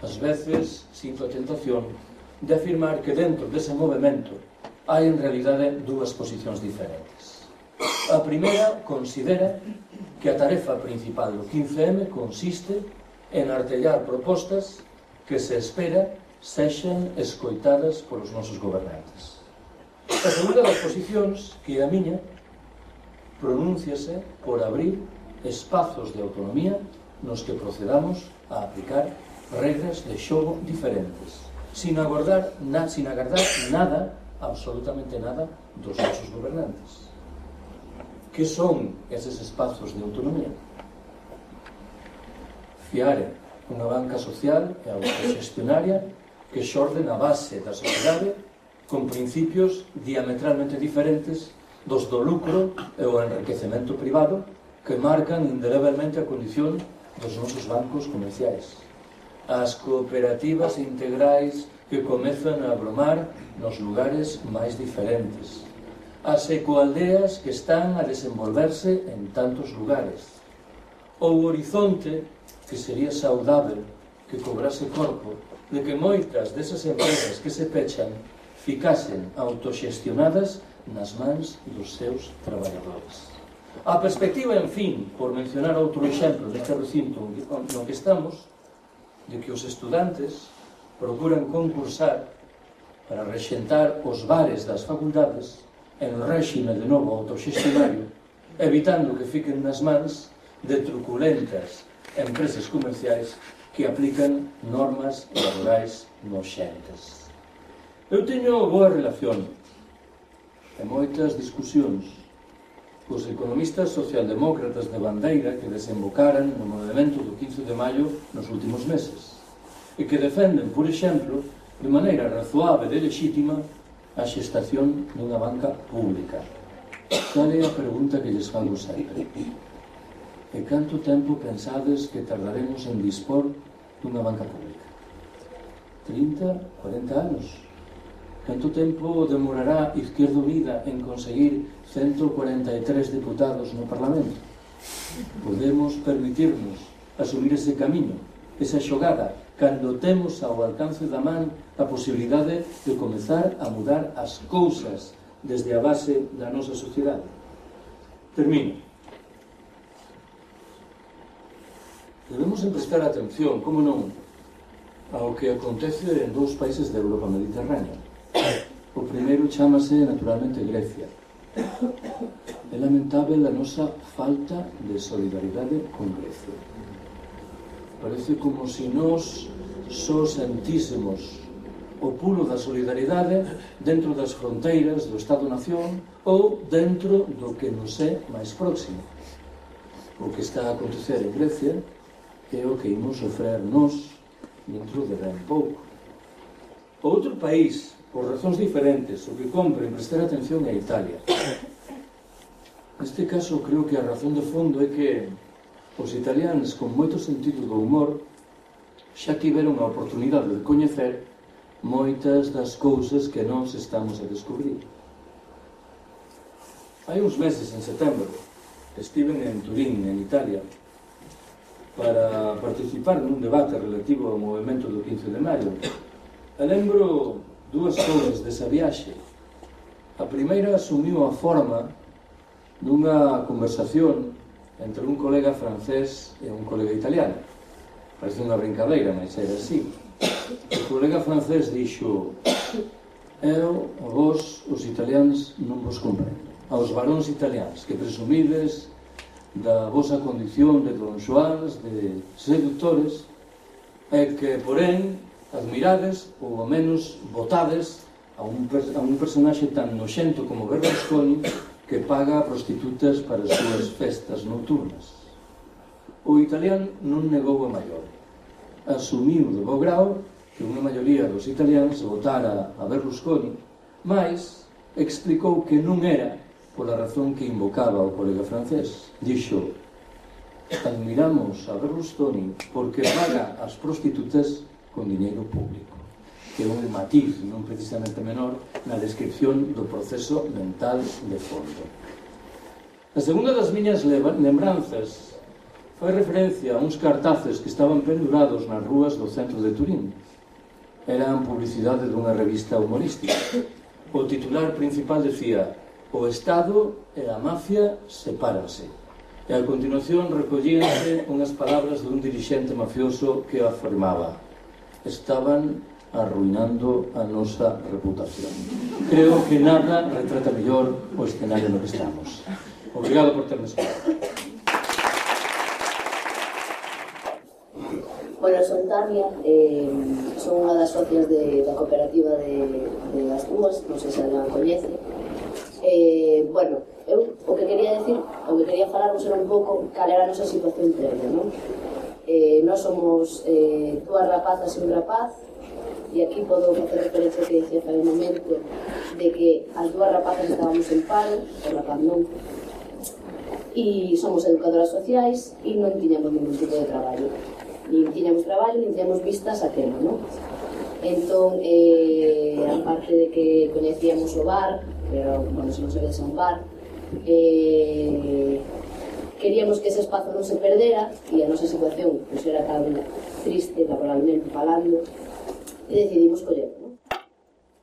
Ás veces, sinto a tentación de afirmar que dentro dese movimento hai en realidade dúas posicións diferentes. A primeira considera que a tarefa principal do 15M consiste en artellar propostas que se espera sexan escoitadas polos nosos gobernantes. A segunda das posicións, que é a miña, pronúnciase por abrir espazos de autonomía nos que procedamos a aplicar regras de xogo diferentes, sin agardar nada, absolutamente nada, dos nosos gobernantes. Que son eses espazos de autonomía? Fiare unha banca social e autoxestionaria que xorde na base da sociedade con principios diametralmente diferentes dos do lucro e o enriquecemento privado que marcan indelebelmente a condición dos nosos bancos comerciais. As cooperativas integrais que comezan a abromar nos lugares máis diferentes. As ecoaldeas que están a desenvolverse en tantos lugares. O horizonte que sería saudável que cobrase corpo de que moitas desas empresas que se pechan ficasen autoxestionadas nas mans dos seus traballadores. A perspectiva, en fin, por mencionar outro exemplo deste recinto no que estamos, de que os estudantes procuran concursar para rexentar os bares das facultades en réxime de novo autoxestionario, evitando que fiquen nas mans de truculentas empresas comerciais que aplican normas laborais noxentes. Eu teño boa relación e moitas discusións cos economistas socialdemócratas de bandeira que desembocaran no movimento do 15 de maio nos últimos meses e que defenden, por exemplo, de maneira razoável e lexítima a xestación dunha banca pública. Cal é a pregunta que lles fago sempre? E canto tempo pensades que tardaremos en dispor dunha banca pública? 30, 40 anos? Canto tempo demorará Izquierda Unida en conseguir 143 deputados no Parlamento? Podemos permitirnos asumir ese camiño, esa xogada, cando temos ao alcance da man a posibilidade de comezar a mudar as cousas desde a base da nosa sociedade. Termino. Debemos prestar atención, como non, ao que acontece en dous países da Europa Mediterránea. O primeiro chamase, naturalmente, Grecia. É lamentável a nosa falta de solidaridade con Grecia. Parece como se nós só sentísemos o pulo da solidaridade dentro das fronteiras do Estado-nación ou dentro do que nos é máis próximo. O que está a acontecer en Grecia é o que imos sofrer nós dentro de ben pouco. Outro país, por razóns diferentes, o que compre en prestar atención é Italia. Neste caso, creo que a razón de fondo é que os italianos, con moito sentido do humor, xa tiveron a oportunidade de coñecer moitas das cousas que nós estamos a descubrir. Hai uns meses, en setembro, estiven en Turín, en Italia, para participar nun debate relativo ao movimento do 15 de maio. E lembro dúas cousas desa viaxe. A primeira asumiu a forma dunha conversación entre un colega francés e un colega italiano. parece unha brincadeira, mas era así. O colega francés dixo: eu, vos, os italianos, non vos comprendo. Aos varóns italianos que presumides da vosa condición de Don Xoáns, de seductores, e que, porén, admirades ou ao menos votades a un personaxe tan noxento como Berlusconi, que paga a prostitutas para as súas festas nocturnas. O italiano non negou a maior. Asumiu de bo grau que unha maioría dos italianos votara a Berlusconi, mas explicou que non era pola razón que invocaba o colega francés. Dixo: admiramos a Berlusconi porque paga as prostitutas con diñeiro público, que é un matiz non precisamente menor na descripción do proceso mental de fondo. A segunda das miñas lembranzas fai referencia a uns cartaces que estaban pendurados nas rúas do centro de Turín. Eran publicidade dunha revista humorística. O titular principal decía: o Estado e a mafia sepáranse. E a continuación recollíanse unhas palabras dun dirixente mafioso que afirmaba: estaban arruinando a nosa reputación. Creo que nada retrata mellor o escenario no que estamos. Obrigado por terme escoitado. Bueno, son Tania, son unha das socias da cooperativa de As Dúas, non sei se a coñece. Bueno, eu o que quería decir, o que quería falarvos era un pouco cal era a nosa situación previa, non? Nós somos dúas rapazas e un rapaz, e aquí podo facer referencia que dicía fai un momento de que as dúas rapazas estábamos en paro, o rapaz non, e somos educadoras sociais e non tiñamos ningún tipo de traballo. Nin tiñamos traballo, nin tiñamos vistas a tema, non? Entón, aparte de que coñecíamos o bar, pero, bueno, se non sabes a un bar, queríamos que ese espazo non se perdera, e a nosa situación pues, era tan triste, laboralmente falando, e decidimos collerlo, non?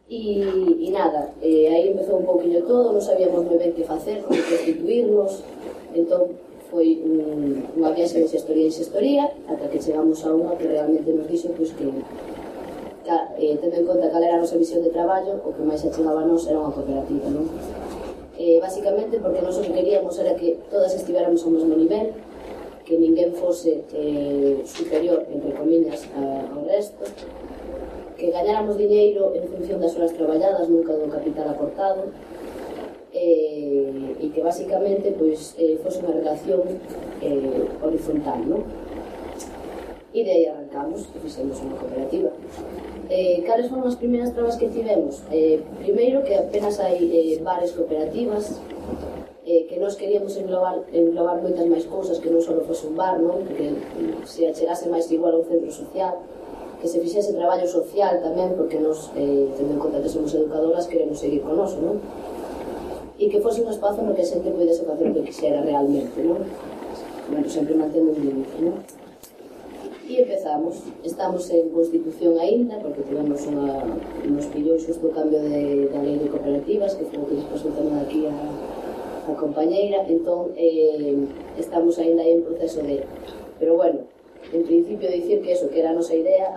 E nada, aí empezou un pouquinho todo, non sabíamos moi ben que facer, como constituirnos, entón, foi unha viaxe de xestoría en xestoría ata que chegamos a unha que realmente nos dixo pues, que tendo en conta cal era a nosa visión de traballo, o que máis achegaba a nos era unha cooperativa, non? Básicamente porque nós o que queríamos era que todas estivéramos ao mesmo nivel, que ninguén fose superior, entre comillas, ao resto, que gañáramos diñeiro en función das horas traballadas, nunca do capital aportado, e que basicamente pues, fose unha relación horizontal, non? E de aí arrancamos e fixemos unha cooperativa. Cales foron as primeiras trabas que tivemos? Primeiro, que apenas hai bares cooperativas, que nós queríamos englobar moitas máis cousas, que non só fose un bar, non? Que se achegase máis igual a un centro social, que se fixese traballo social tamén, porque nós, tendo en conta que somos educadoras, queremos seguir con noso, non? E que fose un espazo no que a xente podese facer o que quixera realmente, non? Bueno, sempre mantendo un límite, non? E empezamos. Estamos en Constitución aínda, porque tivemos nos pillou xusto o cambio da lei de cooperativas, que foi o que despois tamén aquí a compañeira, entón estamos aínda aí en proceso de... Pero bueno, en principio dicir que eso, que era a nosa idea,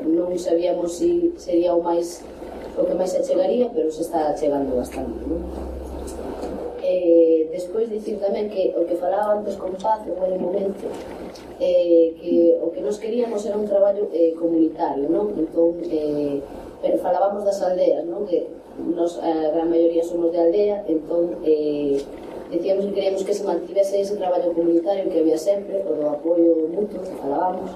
non sabíamos se sería o que máis se achegaría, pero se está achegando bastante, non? Despois dicir tamén que o que falaba antes con Paz en un momento, que o que nos queríamos era un traballo comunitario, non? Entón, pero falábamos das aldeas, non? Que nos, a gran maioría somos de aldea, entón decíamos que queríamos que se mantivese ese traballo comunitario que había sempre, o do apoio mutuo que falábamos,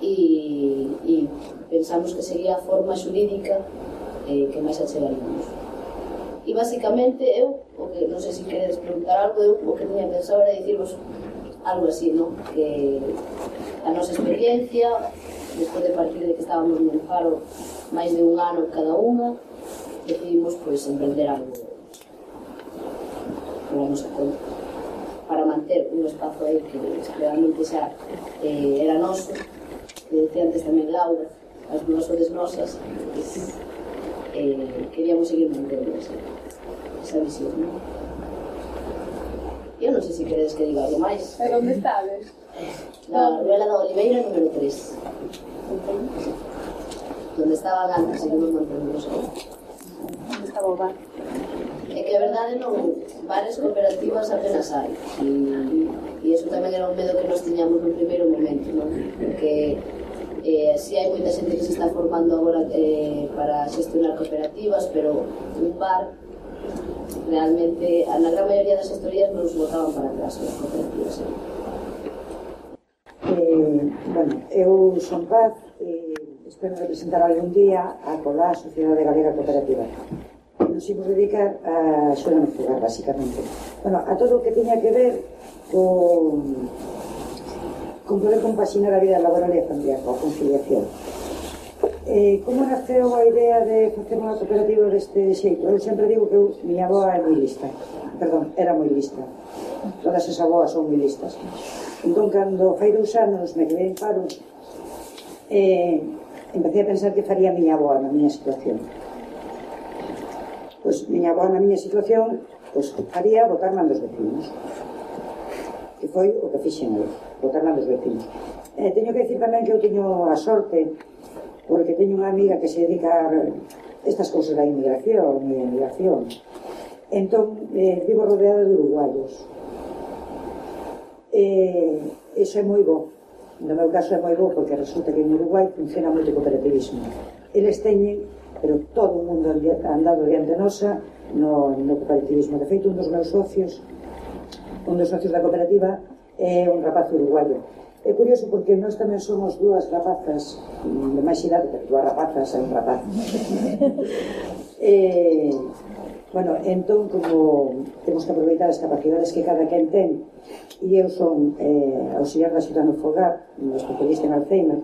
e pensamos que sería a forma xurídica que máis achegaríamos. E basicamente eu, o que non sei se queredes preguntar algo, eu o que tiña pensado era dicirvos algo así, non? Que a nosa experiencia, despois de partir de que estábamos nun paro máis de un ano cada unha, decidimos pois emprender algo pola nosa conta, para manter un espazo aí que realmente xa era noso, que decía antes tamén Laura, as dúas sodes nosas, queríamos seguir mantendo esa visión, non? Eu non sei se queredes que diga algo máis. E onde estades? Na Ruela da Oliveira, número 3. Donde estaban antes, seguimos mantendo aí. Onde estaba o bar? É que a verdade non, bares cooperativas apenas hai. E iso tamén era un medo que nos tiñamos no primeiro momento, non? Porque si hai moita xente que se está formando agora para xestionar cooperativas, pero un bar realmente, na gran maioría das historias non se botaban para atrás as cooperativas. Bueno, eu son Paz e espero representar algún día a COLA, a Sociedade Galega Cooperativa. Nos imos dedicar a axuda no fogar, basicamente. Bueno, a todo o que tiña que ver con poder compaxinar a vida laboral e familiar, a conciliación. Como naceu a idea de facer unha cooperativa deste xeito? Eu sempre digo que miña avoa é moi lista. Perdón, era moi lista. Todas as avoas son moi listas. Entón, cando fai 2 anos me quedei en paro, empecé a pensar que faría miña avoa na miña situación. Pois miña avoa na miña situación faría botarme dos vecinos. Que foi o que fixen eu, botarme dos vecinos. Teño que decir tamén que eu teño a sorte, porque teño unha amiga que se dedica a estas cousas da inmigración e a migración. Entón, vivo rodeada de uruguayos. Iso é moi bo. No meu caso é moi bo porque resulta que en Uruguai funciona moito o cooperativismo. Eles teñen, pero todo o mundo andado diante nosa no cooperativismo. De feito, un dos socios da cooperativa é un rapaz uruguayo. É curioso porque nós tamén somos 2 rapazas de máis idade, pero 2 rapazas e un rapaz. Bueno, entón, como temos que aproveitar as capacidades que cada quen ten, e eu son auxiliar da axuda no fogar, especialista en Alzheimer,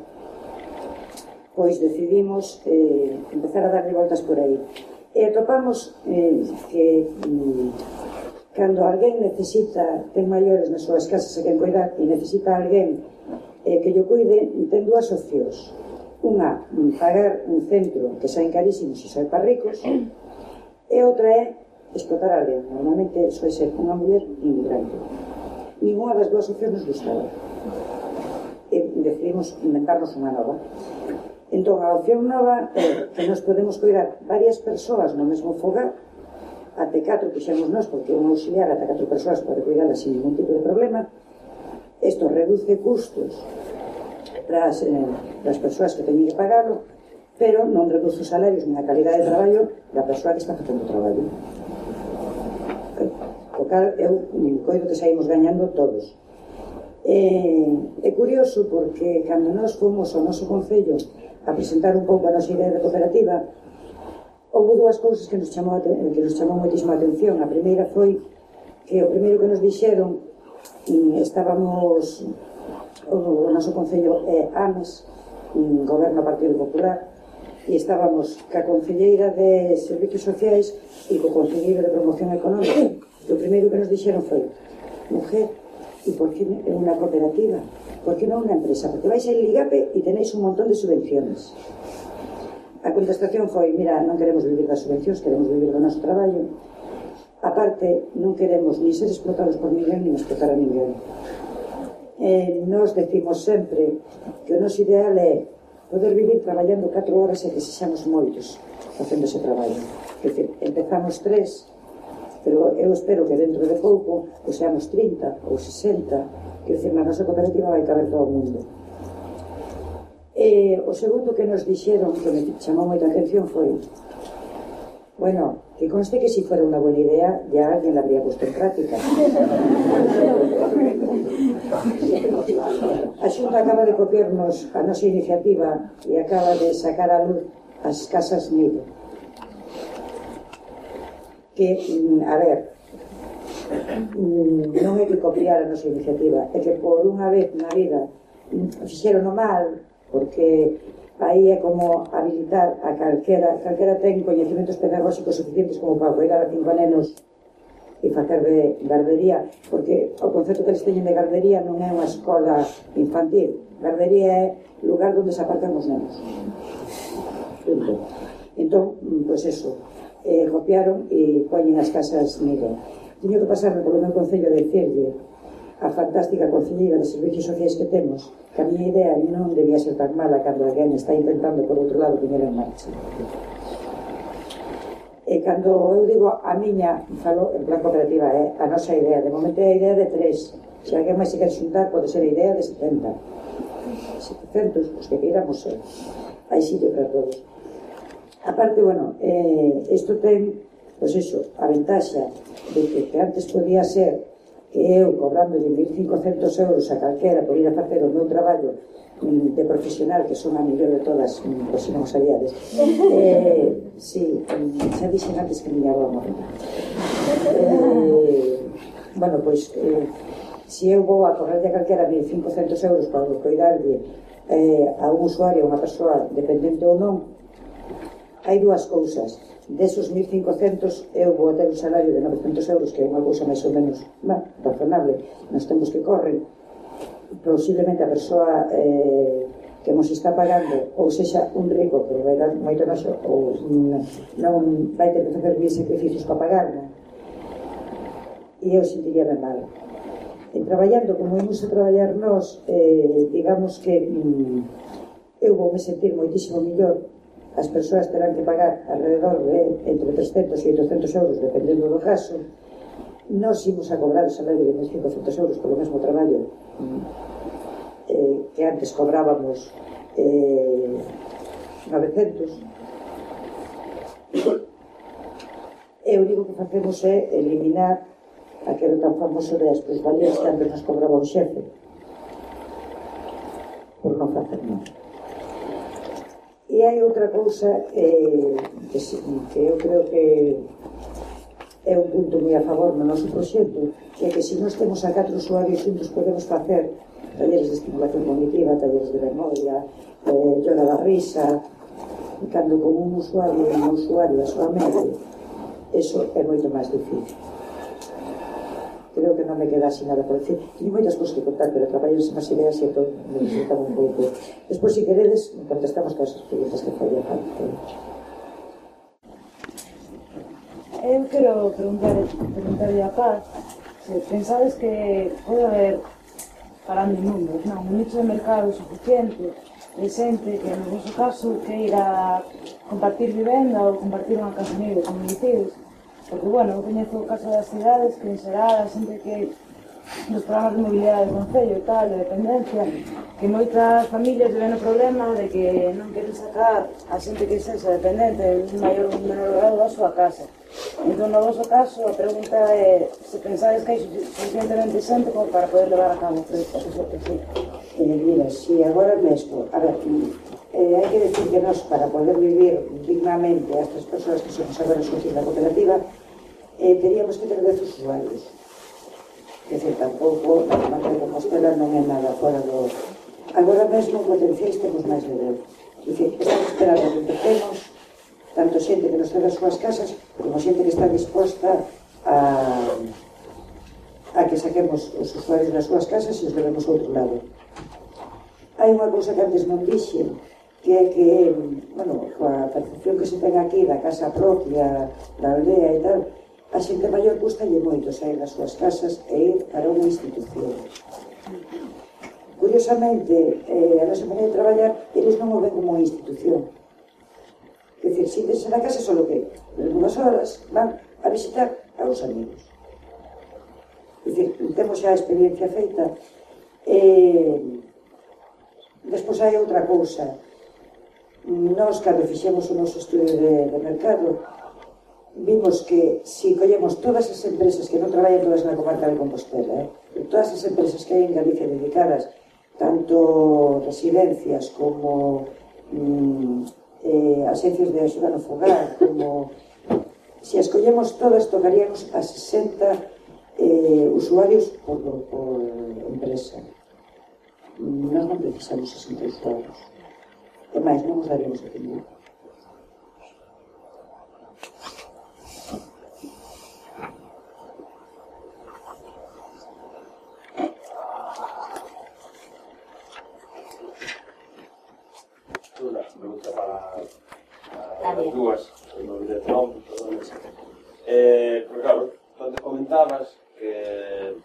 pois decidimos empezar a darle voltas por aí. E atopamos que cando alguén necesita, ten maiores nas súas casas a quen cuidar e necesita alguén que lle cuide, ten 2 opcións. Unha, pagar un centro que saen carísimos e sae para ricos, e outra é explotar a alguén. Normalmente soe ser unha muller inmigrante. Ninguna das 2 opcións nos gustaba. E decidimos inventarnos unha nova. Entón, a opción nova é que nos podemos cuidar varias persoas no mesmo fogar, até 4 fixemos nós, porque un auxiliar ata 4 persoas pode cuidarlas sin ningún tipo de problema. Isto reduce custos para as persoas que teñen que pagarlo, pero non reduce os salarios nin a calidade de traballo da persoa que está facendo o traballo. O cal, eu coido que saímos gañando todos. É curioso porque cando nós fomos ao noso concello a presentar un pouco a nosa idea de cooperativa, houve 2 cousas que nos chamou moitísima atención. A primeira foi que o primeiro que nos dixeron, estábamos, o noso concello é AMES, Goberno Partido Popular, e estábamos ca concelleira de Servicios Sociais e co concelleiro de Promoción Económica. E o primeiro que nos dixeron foi: mujer, e por que é unha cooperativa? Por que non unha empresa? Porque vais a Ligape e tenéis un montón de subvenciones. A contestación foi: mira, non queremos vivir das subvencións, queremos vivir do noso traballo. Aparte, non queremos ni ser explotados por ninguén, ni explotar a ninguén. Nos decimos sempre que o noso ideal é poder vivir traballando 4 horas e que sexamos moitos facendo ese traballo. É dicir, empezamos 3, pero eu espero que dentro de pouco seamos 30 ou 60. Quer dizer, na nosa cooperativa vai caber todo o mundo. O segundo que nos dixeron, que me chamou moita atención, foi: bueno, que conste que si fuera unha buena idea ya alguien la habría puesto en práctica. A Xunta acaba de copiarnos a nosa iniciativa e acaba de sacar a luz as casas nido. Que, a ver, non é que copiar a nosa iniciativa, é que por unha vez na vida fixeron o mal, porque aí é como habilitar a calquera ten coñecementos pedagóxicos suficientes como para cuidar a 5 nenos e facer de gardería, porque o concepto que eles teñen de gardería non é unha escola infantil. Gardería é lugar onde se aparcan os nenos. Entón, pois eso, copiaron e poñen as casas nido. Teño que pasarme polo meu concello de dicirlle a fantástica concelleira de servicios sociais que temos, que a miña idea non debía ser tan mala cando alguén está intentando por outro lado poñer en marcha. E cando eu digo a miña, falo en plan cooperativa, a nosa idea, de momento é a idea de 3, se alguén máis se quer xuntar pode ser a idea de 70, 700, os que queiramos ser, hai sitio para todos. Aparte, bueno, isto ten, pois iso, a ventaxa de que antes podía ser que eu, cobrándolle 1.500 euros a calquera por ir a facer o meu traballo de profesional, que son a mellor de todas, por si non o sabíades, si, xa dixen antes que miña avó morreu. Bueno, pois, se eu vou a cobrarlle a calquera 1.500 euros para coidarlle a un usuario, a unha persoa dependente ou non, hai dúas cousas. Desos 1.500 eu vou ter un salario de 900 euros, que é unha cousa máis ou menos razonable nos tempos que corren. Posiblemente a persoa que nos está pagando ou sexa un rico que vai dar moito noxo ou non vai ter que facer mil sacrificios para pagarla, e eu sentiríame mal. En traballando como imos a traballar nós, digamos que eu vou me sentir moitísimo millor. As persoas terán que pagar alrededor de entre 300 e 800 euros, dependendo do caso. Nós imos a cobrar o salario de 1.500 euros polo mesmo traballo que antes cobrábamos 900. E o único que facemos é eliminar aquele tan famoso de as plusvalías que antes nos cobraba o xefe por non facer nada. E hai outra cousa que eu creo que é un punto moi a favor no noso proxecto, que é que se nós temos a 4 usuarios xuntos podemos facer talleres de estimulación cognitiva, talleres de memoria, yoga da risa, cando con un usuario e unha usuaria solamente, eso é moito máis difícil. Creo que non me queda así nada por decir. Teño moitas cosas que contar, pero traballarse máis ideas e todo me necesitaba un pouco. Despois, se queredes, contestamos con as preguntas que falla falta. Eu quero preguntarlle a Paz se pensades que pode haber, parando en números, un nicho de mercado suficiente de xente que, no vosso caso, queira compartir vivenda ou compartir unha casa nivel, como dicides. Porque, bueno, eu coñezo o caso das cidades que en xeral a xente que nos programas de mobilidade do Concello e tal, de dependencia, que moitas familias ven o problema de que non queren sacar a xente que sexa dependente en maior ou menor grado da súa casa. Entón, no vosso caso, a pregunta é se pensades que hai suficientemente xente como para poder levar a cabo o proxecto. Mira, si agora mesmo, a ver, hai que decir que nós, para poder vivir dignamente as 3 persoas que somos agora socios da cooperativa, teríamos que ter 10 usuarios. É dicir, tampouco a Marca de Compostela non é nada fora do... Agora mesmo, potenciais, temos máis de 10. É dicir, estamos esperando que empecemos tanto xente que nos ten as súas casas como xente que está disposta a que saquemos os usuarios das súas casas e os levemos a outro lado. Hai unha cousa que antes non dixen, que é que, bueno, coa percepción que se ten aquí da casa propia, da aldea e tal, a xente maior custalle moito sair das súas casas e ir para unha institución. Curiosamente, a nosa maneira de traballar, eles non o ven como unha institución. É dicir, sintense na casa só que unhas horas van a visitar a uns amigos. É dicir, temos xa a experiencia feita. Despois hai outra cousa. Nós, cando fixemos o noso estudio de mercado, vimos que se collemos todas as empresas que non traballan todas na comarca de Compostela, todas as empresas que hai en Galicia dedicadas, tanto residencias como agencias de axuda no fogar, como se as collemos todas, tocaríamos a 60 usuarios por empresa. Nós non precisamos 60 usuarios. E máis, non nos daríamos a tener. Una pregunta para as dúas, no dirección, porque claro, onde comentabas que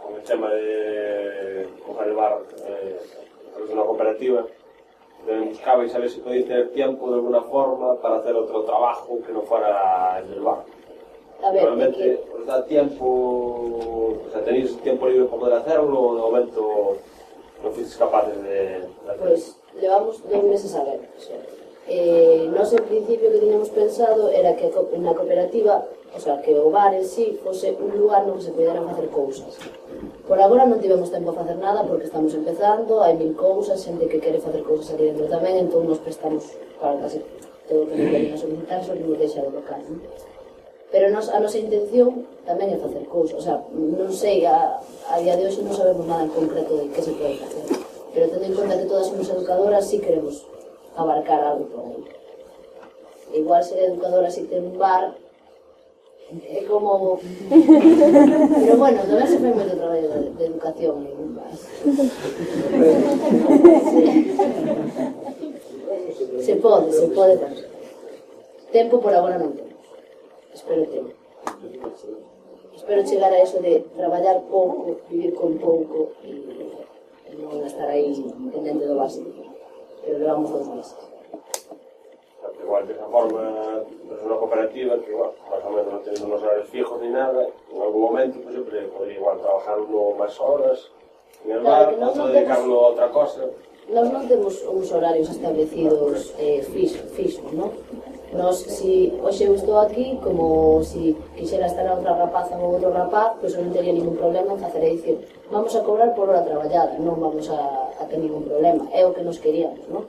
con el tema de coger el bar de una cooperativa, buscaba y saber si podéis tener tiempo de alguna forma para hacer otro trabajo que no fuera el del bar. Normalmente os da tiempo, o sea, tenéis tiempo libre para poder hacerlo, o de momento no fuisteis capaces de hacerlo. Pues llevamos 2 meses a ver. Nos en principio que teníamos pensado era que na cooperativa, o sea, que o bar en sí fose un lugar no que se puderan facer cousas. Por agora non tivemos tempo a facer nada porque estamos empezando, hai 1000 cousas, xente que quere facer cousas aquí dentro tamén, entón nos prestamos para casi todo o que nos veñen a solicitar, só que nos deixa do local, non? Pero a nosa intención tamén é facer cousas, o sea, non sei, a día de hoxe non sabemos nada en concreto de que se pode facer, pero tendo en conta que todas somos educadoras, sí queremos abarcar algo por aí. Igual ser educadora si ten un bar, é como... Pero bueno, tamén se fai moito traballo de educación en un bar. Se pode facer. Tempo por agora non temos. Espero tempo. Espero chegar a eso de traballar pouco, vivir con pouco e non estar aí pendente do básico. Pero levamos 2 meses. Igual de esa forma, es una cooperativa que, bueno, más o menos no tiene unos horarios fijos ni nada, en algún momento pues siempre podría igual trabajar uno más horas en el bar, o dedicarlo a otra cosa. Nós non temos uns horarios establecidos fixos, non? Nos, si hoxe eu estou aquí, como si quixera estar a outra rapaza ou outro rapaz, pois non teria ningún problema en facer a dicir vamos a cobrar por hora traballada, non vamos a ter ningún problema, é o que nos queríamos, non?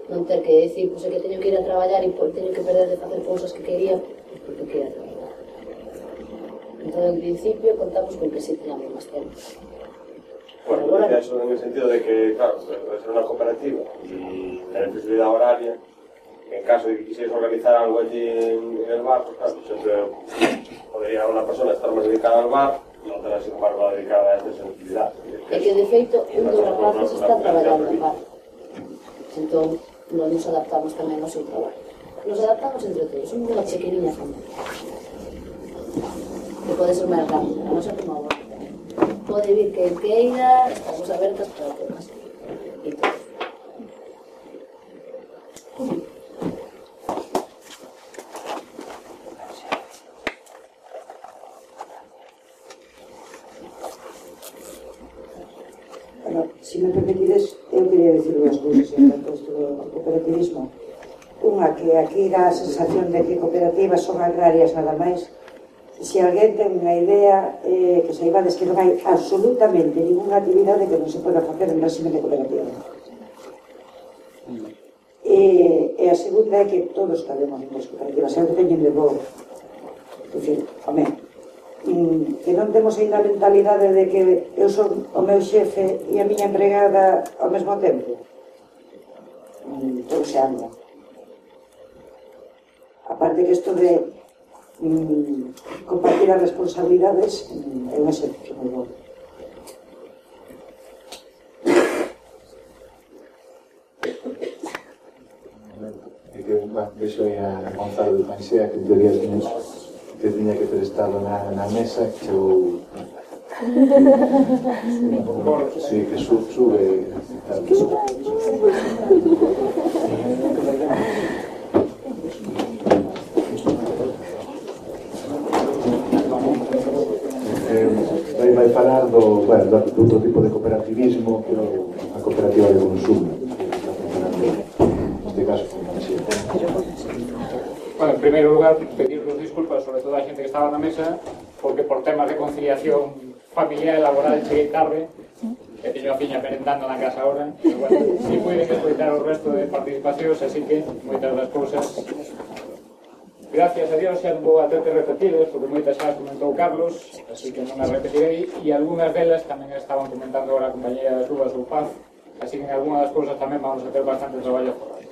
Non ter que decir, pois é que teño que ir a traballar e teño que perder de facer cousas que quería, porque quería traballar. Entón, en principio, contamos con que sí teñamos máis tempo. Bueno, eso en el sentido de que, claro, debe ser una cooperativa y tener flexibilidad horaria. En caso de que quisierais organizar algo allí en el bar, pues claro, siempre podría una persona estar más dedicada al bar y otra, sin embargo, dedicada a esta sensibilidad. É que, de feito, un dos rapaces está traballando en bar. Entón, nos adaptamos tamén ao seu traballo. Nos adaptamos entre todos, somos unha pequeniña familia. Que pode ser máis rápido, a nosa como agora. Pode vir que queira, estamos abertas para todas. E todos. Si me permitides, eu quería dicir dúas cousas en tanto isto do cooperativismo. Unha, que aquí dá a sensación de que cooperativas son agrarias nada máis. Se alguén ten unha idea, que saibades que non hai absolutamente ninguna actividade que non se poda facer en régimen de cooperativa. E a segunda é que todos cabemos nas cooperativas, eu teñen de bo. É dicir, home, que non temos ainda a mentalidade de que eu son o meu xefe e a miña empregada ao mesmo tempo. Todo se anda. Aparte que isto de compartir as responsabilidades é un exemplo moi bom. Vexo aí a Gonzalo de Pansea que teoría que tiña que ter estado na mesa que chegou sí, que sube vai falar do outro tipo de cooperativismo que é a cooperativa de consumo neste caso Pansea. Bueno, en primeiro lugar, pedirvos disculpas sobre toda a xente que estaba na mesa porque por temas de conciliación familiar e laboral cheguei tarde e teño a fiña merendando na casa ahora, pero bueno, si puiden escoitar o resto de participacións, así que moitas das cousas gracias a Dios xa non vou a ter que repetiles porque moitas xa as comentou Carlos, así que non as repetirei e algunhas delas tamén estaban comentando agora a compañía das Uvas ou Paz, así que en algunhas das cousas tamén vamos a ter bastante traballo por aí.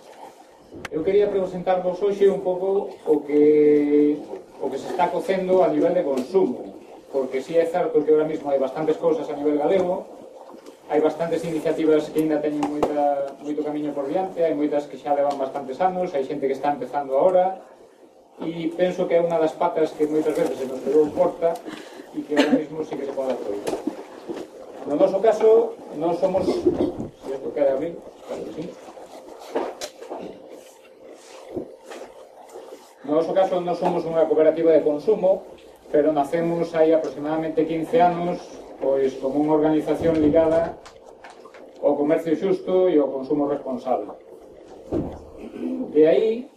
Eu quería presentarvos hoxe un pouco o que se está cocendo a nivel de consumo, porque sí é certo que ahora mismo hai bastantes cousas a nivel galego, hai bastantes iniciativas que ainda teñen moito camiño por diante, hai moitas que xa levan bastantes anos, hai xente que está empezando agora, e penso que é unha das patas que moitas veces se nos quedou corta e que ahora mismo sí que se pode aproveitar. No noso caso, non somos... Se isto queda abrir, claro que sí. No noso caso, non somos unha cooperativa de consumo, pero nacemos hai aproximadamente 15 anos pois como unha organización ligada ao comercio xusto e ao consumo responsable. De aí,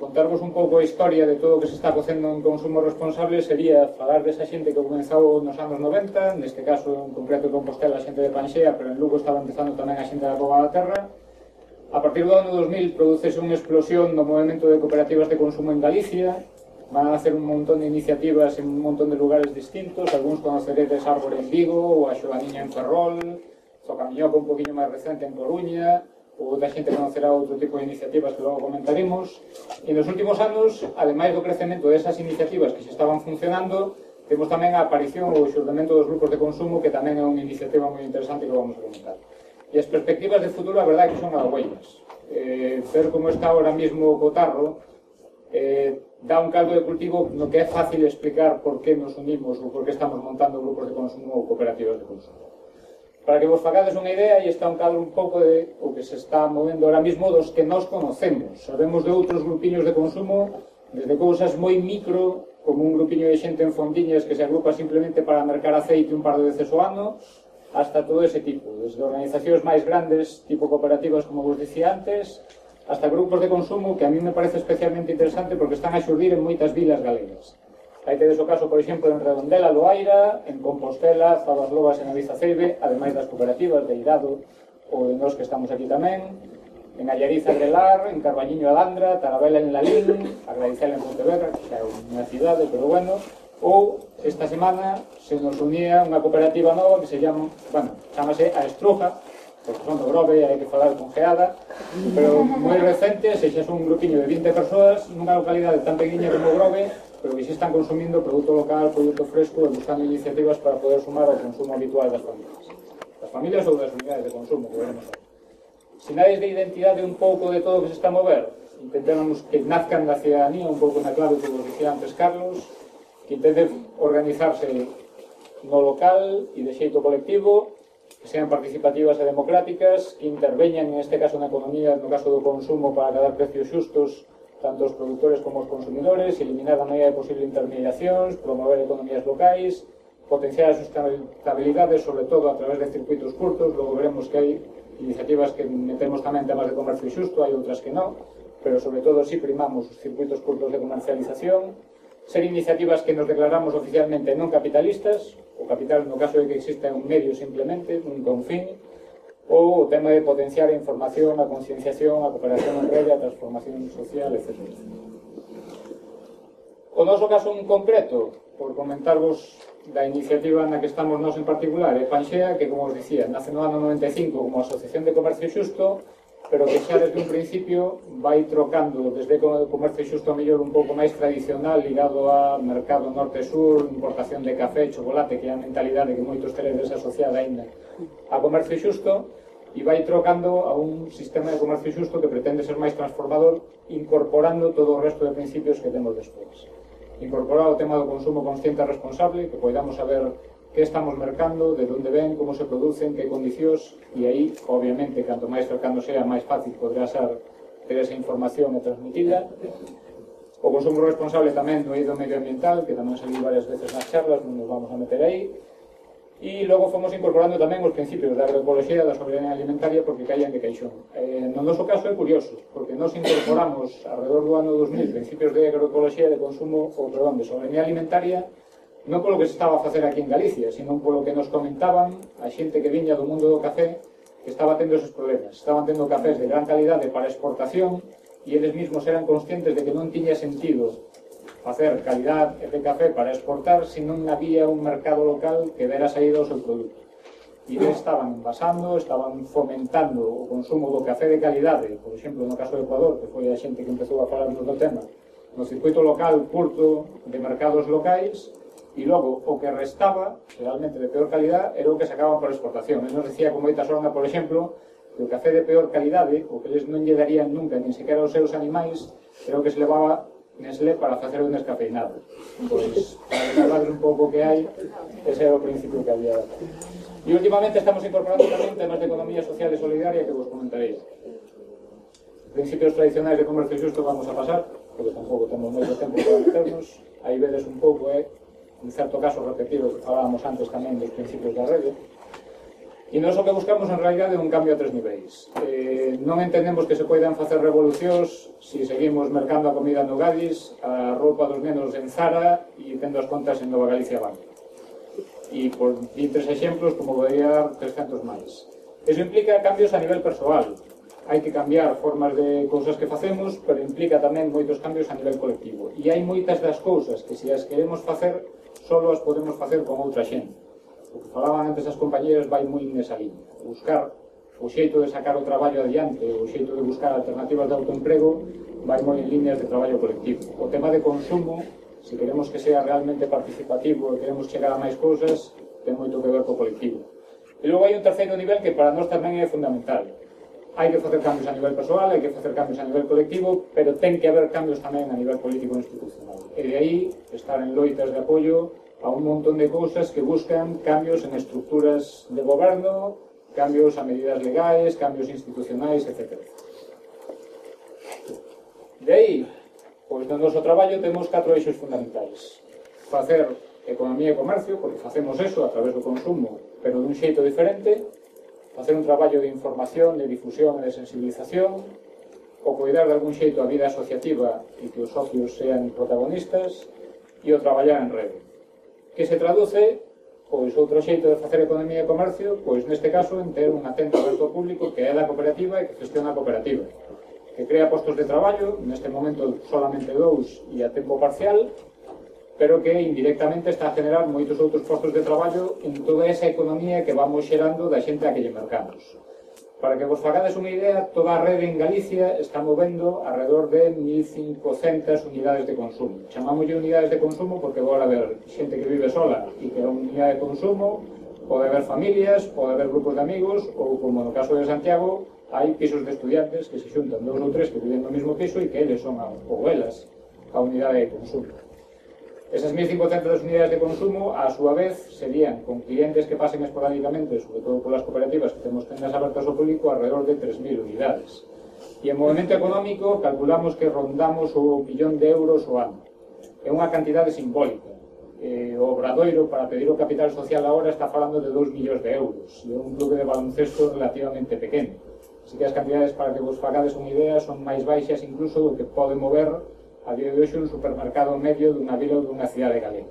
contarvos un pouco a historia de todo o que se está facendo en consumo responsable sería falar desa xente que comenzou nos anos 90, neste caso en concreto en Compostela a xente de Panxea, pero en Lugo estaba empezando tamén a xente da Cova da Terra. A partir do ano 2000 producese unha explosión do movimento de cooperativas de consumo en Galicia. Van a hacer un montón de iniciativas en un montón de lugares distintos, algúns conoceredes Árbore en Vigo, ou a Xoganiña en Ferrol, o Camiñoco un poquinho máis recente en Coruña, ou outra xente conocerá outro tipo de iniciativas que logo comentaremos. E nos últimos anos, ademais do crecemento desas iniciativas que se estaban funcionando, temos tamén a aparición ou o xurdimento dos grupos de consumo, que tamén é unha iniciativa moi interesante que vamos a comentar. E as perspectivas de futuro, a verdade, que son halagüeñas. Ver como está ahora mismo o cotarro dá un caldo de cultivo no que é fácil explicar por que nos unimos ou por que estamos montando grupos de consumo ou cooperativas de consumo. Para que vos facades unha idea, aí está un cadro un pouco de o que se está movendo ahora mismo dos que nós conocemos. Sabemos de outros grupiños de consumo, desde cousas moi micro, como un grupiño de xente en fondiñas que se agrupa simplemente para mercar aceite un par de veces ao ano, hasta todo ese tipo, desde organizacións máis grandes, tipo cooperativas, como vos dicía antes, hasta grupos de consumo que a mí me parece especialmente interesante porque están a xurdir en moitas vilas galegas. Aí tedes o caso, por exemplo, en Redondela, Loaira, en Compostela, Zabas Lobas e Navizaceibe, ademais das cooperativas de Irado ou de nós que estamos aquí tamén, en Allariza, Grelar, en Carballiño, Alandra, Tarabela en Lalín, Agradicela en Pontevedra, que é unha cidade, pero bueno, ou esta semana se nos unía unha cooperativa nova que se chama, bueno, chamase A Estruja, porque son do Grove, hai que falar con geada, pero moi recente, se xa son un grupiño de 20 persoas nunha localidade tan pequeña como Grove, pero que xa están consumindo produto local, produto fresco e buscando iniciativas para poder sumar ao consumo habitual das familias ou das unidades de consumo, que veremos aí. Sinais de identidade un pouco de todo o que se está a mover, intentamos que nazcan da ciudadanía, un pouco na clave que vos dicía antes Carlos, que intenten organizarse no local e de xeito colectivo, que sean participativas e democráticas, que interveñan, en este caso, na economía, no caso do consumo, para dar precios xustos, tanto os produtores como os consumidores, eliminar a medida de posible intermediacións, promover economías locais, potenciar a sustentabilidade, sobre todo a través de circuitos curtos. Logo veremos que hai iniciativas que metemos tamén temas de comercio xusto, hai outras que non, pero sobre todo si primamos os circuitos curtos de comercialización, ser iniciativas que nos declaramos oficialmente non capitalistas, o capital no caso de que exista un medio simplemente, nunca un fin, ou o tema de potenciar a información, a concienciación, a cooperación en rede, a transformación social, etc. O noso caso en concreto, por comentarvos da iniciativa na que estamos nós en particular, é Panxea, que, como os dicía, nace no ano 95 como Asociación de Comercio Xusto, pero que xa desde un principio vai trocando desde o comercio xusto mellor un pouco máis tradicional, ligado a mercado norte-sur, importación de café, chocolate, que é a mentalidade que moitos teredes asociada ainda a comercio xusto, e vai trocando a un sistema de comercio xusto que pretende ser máis transformador, incorporando todo o resto de principios que temos despois. Incorporar o tema do consumo consciente e responsable, que podamos saber que estamos mercando, de onde ven, como se producen, que condicións, e aí, obviamente, canto máis cercano sea, máis fácil podrá ser ter esa información e transmitida. O consumo responsable tamén do eido medioambiental, que tamén saliu varias veces nas charlas, non nos vamos a meter aí. E logo fomos incorporando tamén os principios da agroecoloxía e da soberanía alimentaria, porque caían de caixón. No noso caso é curioso, porque nos incorporamos alrededor do ano 2000 principios de agroecoloxía e de consumo, ou perdón, de soberanía alimentaria, non polo que se estaba a facer aquí en Galicia, sino polo que nos comentaban a xente que viña do mundo do café, que estaba tendo esos problemas. Estaban tendo cafés de gran calidade para exportación e eles mesmos eran conscientes de que non tiña sentido facer calidad de café para exportar se non había un mercado local que dera saída ao seu produto. E eles estaban envasando, estaban fomentando o consumo do café de calidade, por exemplo, no caso do Ecuador, que foi a xente que empezou a falarnos do tema, no circuito local curto de mercados locais, e logo o que restaba, realmente de peor calidad, era o que sacaban por exportación. Eles nos decía con moita sorna, por exemplo, que o café de peor calidade, o que eles non lle darían nunca, nin sequera aos seus animais, era o que se levaba Nestlé para facer un descafeinado. Pois, para recordar un pouco que hai, ese era o principio que había. E últimamente estamos incorporando tamén temas de economía social e solidaria que vos comentarei. Principios tradicionais de comercio xusto vamos a pasar, porque tampouco temos moito tempo para meternos. Aí vedes un pouco, en certo caso, repetir o que falábamos antes tamén dos principios da rede. E nós o que buscamos en realidade é un cambio a 3 niveis. Non entendemos que se poidan facer revolucións se seguimos mercando a comida no Gadis, a roupa dos nenos en Zara e tendo as contas en Nova Galicia Banco. E por 23 exemplos, como podría dar 300 máis. Eso implica cambios a nivel persoal. Hai que cambiar formas de cousas que facemos, pero implica tamén moitos cambios a nivel colectivo. E hai moitas das cousas que se as queremos facer, só as podemos facer con outra xente. O que falaban antes as compañeras vai moi nesa liña. Buscar o xeito de sacar o traballo adiante, o xeito de buscar alternativas de autoemprego, vai moi en líneas de traballo colectivo. O tema de consumo, se queremos que sea realmente participativo e queremos chegar a máis cousas, ten moito que ver co colectivo. E logo hai un terceiro nivel que para nós tamén é fundamental. Hai que facer cambios a nivel persoal, hai que facer cambios a nivel colectivo, pero ten que haber cambios tamén a nivel político e institucional. E de aí estar en loitas de apoio a un montón de cousas que buscan cambios en estructuras de goberno, cambios a medidas legais, cambios institucionais, etc. De aí, pois no noso traballo temos 4 eixos fundamentais. Facer economía e comercio, porque facemos eso a través do consumo, pero dun xeito diferente. Facer un traballo de información, de difusión e de sensibilización, o cuidar de algún xeito a vida asociativa e que os socios sean protagonistas, e o traballar en rede. Que se traduce, pois outro xeito de facer economía e comercio, pois neste caso en ter un atento aberto ao público que é da cooperativa e que gestiona a cooperativa, que crea postos de traballo, neste momento solamente 2 e a tempo parcial, pero que indirectamente está a generar moitos outros postos de traballo en toda esa economía que vamos xerando da xente a que lle mercamos. Para que vos facades unha idea, toda a rede en Galicia está movendo alrededor de 1.500 unidades de consumo. Chamámoslle unidades de consumo porque vou a haber xente que vive sola e que é unha unidade de consumo, pode haber familias, pode haber grupos de amigos, ou como no caso de Santiago, hai pisos de estudiantes que se xuntan 2 ou 3 que viven no mesmo piso e que eles son ou elas a unidade de consumo. Esas 1.500 unidades de consumo, a súa vez, serían con clientes que pasen esporádicamente, sobre todo polas cooperativas que temos tendas abertas ao público, alrededor de 3.000 unidades. E en movimento económico calculamos que rondamos o 1 billón de euros o ano. É unha cantidade simbólica. O Obradoiro, para pedir o capital social agora, está falando de 2 millóns de euros. E é un clube de baloncesto relativamente pequeno. Así que as cantidades, para que vos facades unha idea, son máis baixas incluso do que pode mover a día de hoxe un supermercado medio dunha vila ou dunha cidade galega.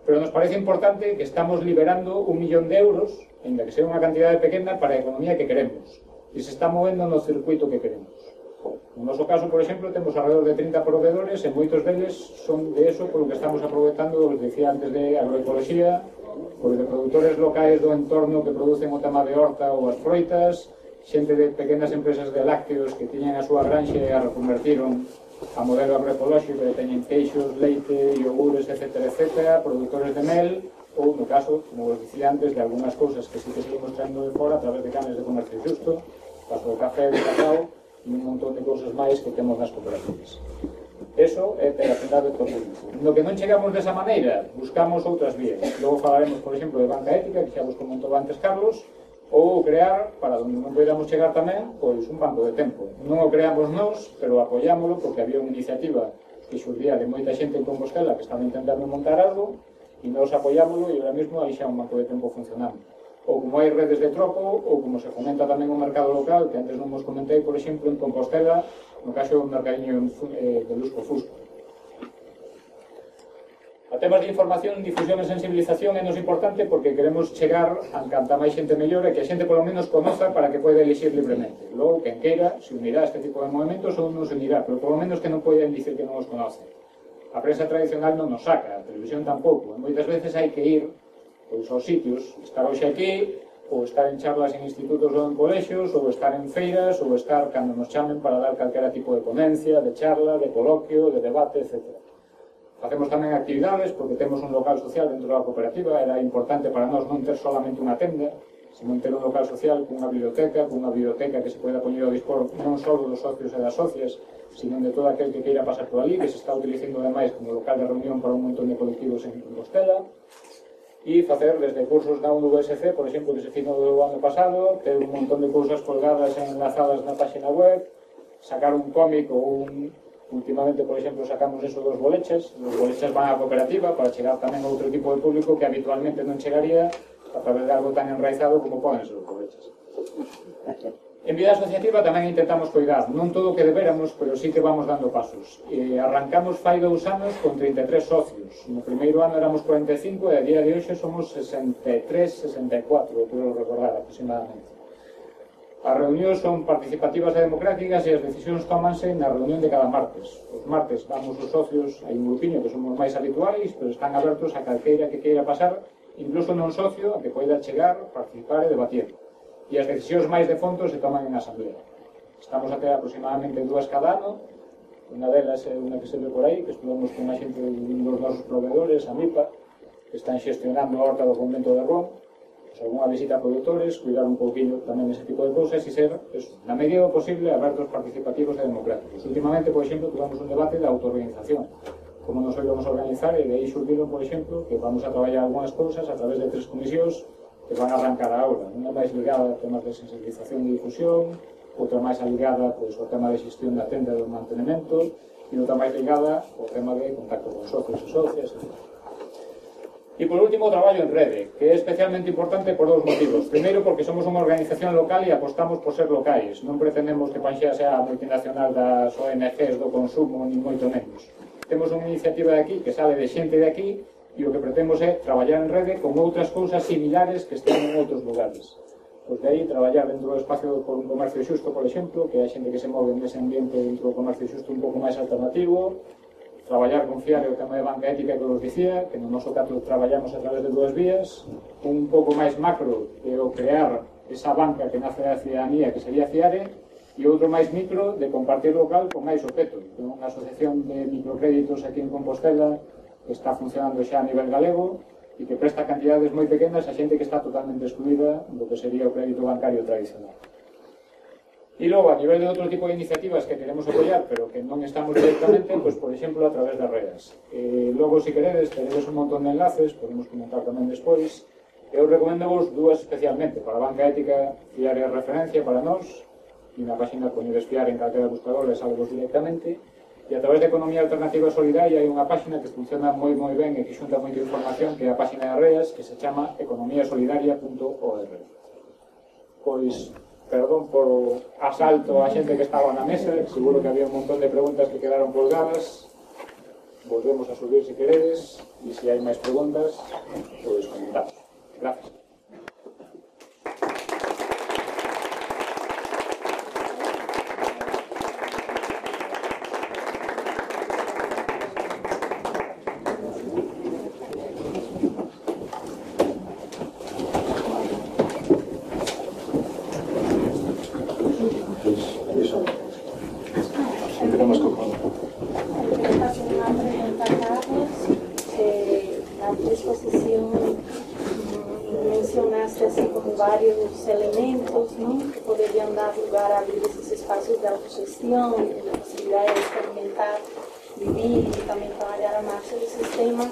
Pero nos parece importante que estamos liberando 1 millón de euros, ainda que sea unha cantidade pequena, para a economía que queremos. E se está movendo no circuito que queremos. No noso caso, por exemplo, temos alrededor de 30 proveedores e moitos deles son de eso polo que estamos aproveitando, os decía antes, de agroecoloxía, pois de produtores locais do entorno que producen o tema de horta ou as froitas, xente de pequenas empresas de lácteos que tiñan a súa granxa e a reconvertiron a modelo agroecolóxico, que teñen queixos, leite, iogures, etc., produtores de mel, ou, no caso, como vos dicía antes, de algunhas cousas que sí que seguimos traendo de fora a través de canes de comercio xusto, caso de café, de cacao, e un montón de cousas máis que temos nas cooperativas. Eso é ter atendido todo o público. No que non chegamos desa maneira, buscamos outras vías. Logo falaremos, por exemplo, de banca ética, que xa vos comentou antes Carlos, ou crear, para onde non podamos chegar tamén, pois un banco de tempo. Non o creamos nós, pero apoiámoslo porque había unha iniciativa que xurdía de moita xente en Compostela que estaba intentando montar algo e nós apoiámoslo e ahora mesmo aí xa un banco de tempo funcionando. Ou como hai redes de troco, ou como se fomenta tamén o mercado local, que antes non vos comentei, por exemplo, en Compostela, no caso do mercadiño de Lusco Fusco. A temas de información, difusión e sensibilización é nos importante porque queremos chegar a canta máis xente mellor e que a xente polo menos conoza para que poida elixir libremente. Logo, quen queira, se unirá a este tipo de movimentos ou non se unirá, pero polo menos que non poden dicir que non os conoce. A prensa tradicional non nos saca, a televisión tampouco. E moitas veces hai que ir pois, aos sitios, estar hoxe aquí, ou estar en charlas en institutos ou en colexios, ou estar en feiras, ou estar cando nos chamen para dar calquera tipo de ponencia, de charla, de coloquio, de debate, etc. Facemos tamén actividades porque temos un local social dentro da cooperativa. Era importante para nós non ter solamente unha tenda, sino ter un local social cunha biblioteca que se poida poñer ao dispor non só dos socios e das socias, sino de todo aquel que queira pasar por ali, que se está utilizando ademais como local de reunión para un montón de colectivos en Compostela. e facer desde cursos na USC, por exemplo, que se finou do ano pasado, ter un montón de cousas colgadas e enlazadas na página web, sacar un cómic ou últimamente, por exemplo, sacamos eso dos boleches. Os boleches van á cooperativa para chegar tamén a outro tipo de público que habitualmente non chegaría a través de algo tan enraizado como poden ser os boleches. En vida asociativa tamén intentamos coidar, non todo o que deberamos, pero sí que vamos dando pasos. Arrancamos fai 2 anos con 33 socios. No primeiro ano éramos 45 e a día de hoxe somos 63, 64, creo recordar aproximadamente. As reunións son participativas e democráticas e as decisións tómanse na reunión de cada martes. Os martes vamos os socios, hai un grupiño que somos máis habituais, pero están abertos a calqueira que queira pasar, incluso non socio, a que poida chegar, participar e debatir. E as decisións máis de fondo se toman en asamblea. Estamos a ter aproximadamente 2 cada ano. Unha delas é unha que se ve por aí, que estudamos con a xente dos nosos proveedores, a MIPA, que están xestionando a horta do convento de Ron, algunha visita a produtores, cuidar un pouquinho tamén ese tipo de cousas e ser, na medida posible, abertos, participativos e democráticos. Últimamente, por exemplo, tuvamos un debate de autoorganización, como nos vamos a organizar, e de aí surgiron, por exemplo, que vamos a traballar algunhas cousas a través de 3 comisións que van a arrancar a aula. Unha máis ligada a temas de sensibilización e difusión, outra máis ligada ao tema de xestión da tenda e do mantenimento, e outra máis ligada ao tema de contacto con socios e socias, etc. E por último, o traballo en rede, que é especialmente importante por 2 motivos. Primeiro, porque somos unha organización local e apostamos por ser locais. Non pretendemos que Panxea sea a multinacional das ONGs do consumo, ni moito menos. Temos unha iniciativa de aquí que sale de xente de aquí, e o que pretendemos é traballar en rede con outras cousas similares que estén en outros lugares. Pois de aí, traballar dentro do espacio por un comercio xusto, por exemplo, que hai xente que se move nese ambiente dentro do comercio xusto un pouco máis alternativo, traballar con Fiare o tema de banca ética que vos dicía, que no noso caso traballamos a través de 2 vías, un pouco máis macro, que é o crear esa banca que nace da ciudadanía, que sería Fiare, e outro máis micro, de compartir local con máis o Peto, que é unha asociación de microcréditos aquí en Compostela, que está funcionando xa a nivel galego e que presta cantidades moi pequenas a xente que está totalmente excluída do que sería o crédito bancario tradicional. E logo, a nivel de outro tipo de iniciativas que queremos apoiar, pero que non estamos directamente, pois, por exemplo, a través das redes. Logo, se queredes, tenedes un montón de enlaces, podemos comentar tamén despois. Eu recomendo vos 2 especialmente. Para a banca ética, Fiare é referencia para nós, e na página poñedes Fiare en calquera buscador e salvos directamente. E a través de Economía Alternativa Solidaria hai unha página que funciona moi ben e que xunta moita información, que é a página de redes, que se chama economiasolidaria.org. Pois, perdón por o asalto a xente que estaba na mesa, seguro que había un montón de preguntas que quedaron colgadas. Volvemos a subir se queredes, e se hai máis preguntas, pois comentamos. Gracias. Varios elementos, ¿no?, que poderiam dar lugar a abrir esses espaços de autogestão, de possibilidade de experimentar, vivir e também trabalhar a marcha do sistema.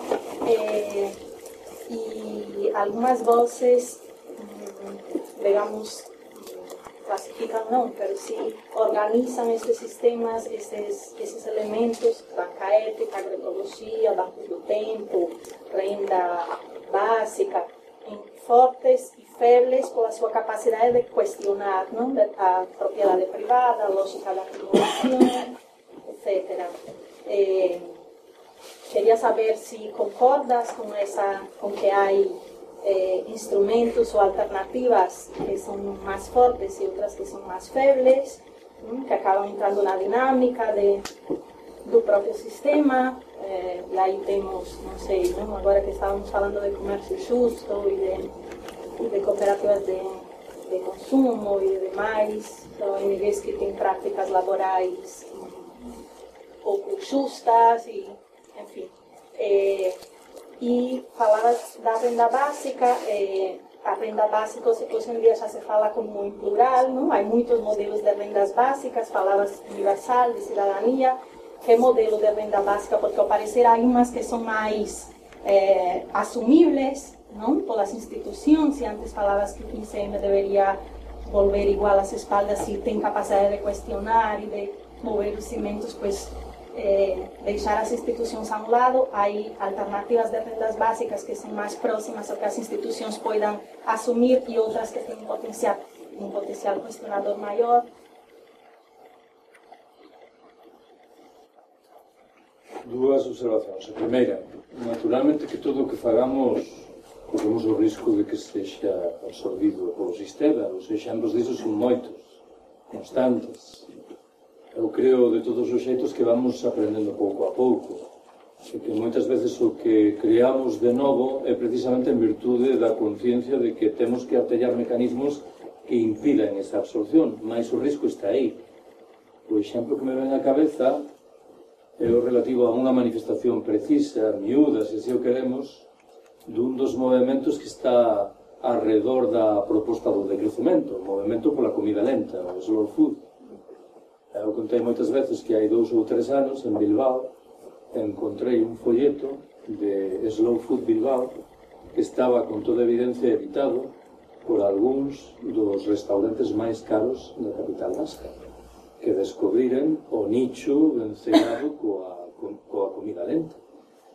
E algumas voces, digamos, classificam não, mas sim organizam esses sistemas, esses elementos, banca ética, agroecologia, banco do tempo, renda básica, fortes e febles pela sua capacidade de questionar, não, a propriedade privada, a lógica da acumulação, etc. Queria saber se concordas com que há instrumentos ou alternativas que são mais fortes e outras que são mais febles, que acabam entrando na dinâmica do próprio sistema. E aí temos, não sei, não? Agora que estávamos falando de comércio justo e de cooperativas de consumo e de demais, ONGs que têm práticas laborais pouco justas, e, enfim. E falavas da renda básica. A renda básica hoje em dia já se fala como em plural, não? Há muitos modelos de rendas básicas, falavas universal, de cidadania. Que modelo de renda básica? Porque ao parecer há umas que são mais assumíveis, non? Polas institucións, e antes falabas que o ICM debería volver igual as espaldas e ten capacidade de cuestionar e de mover os cimentos, pois deixar as institucións a un lado. Hai alternativas de rendas básicas que son máis próximas ao que as institucións poidan asumir e outras que ten un potencial cuestionador maior. Dúas observacións. A primeira, naturalmente que todo o que fagamos corremos o risco de que sexa absorbido polo sistema. Os exemplos disso son moitos, constantes. Eu creo de todos os xeitos que vamos aprendendo pouco a pouco, e que moitas veces o que creamos de novo é precisamente en virtude da conciencia de que temos que artellar mecanismos que impidan esa absorción, mais o risco está aí. O exemplo que me ven á cabeza é o relativo a unha manifestación precisa, miúda, se así o queremos, dun dos movimentos que está alrededor da proposta do decrecemento, o movimento pola comida lenta, o slow food. Eu contei moitas veces que hai 2 ou 3 anos en Bilbao encontrei un folleto de Slow Food Bilbao que estaba con toda evidencia editado por algúns dos restaurantes máis caros da capital vasca, que descubriren o nicho vencellado coa comida lenta.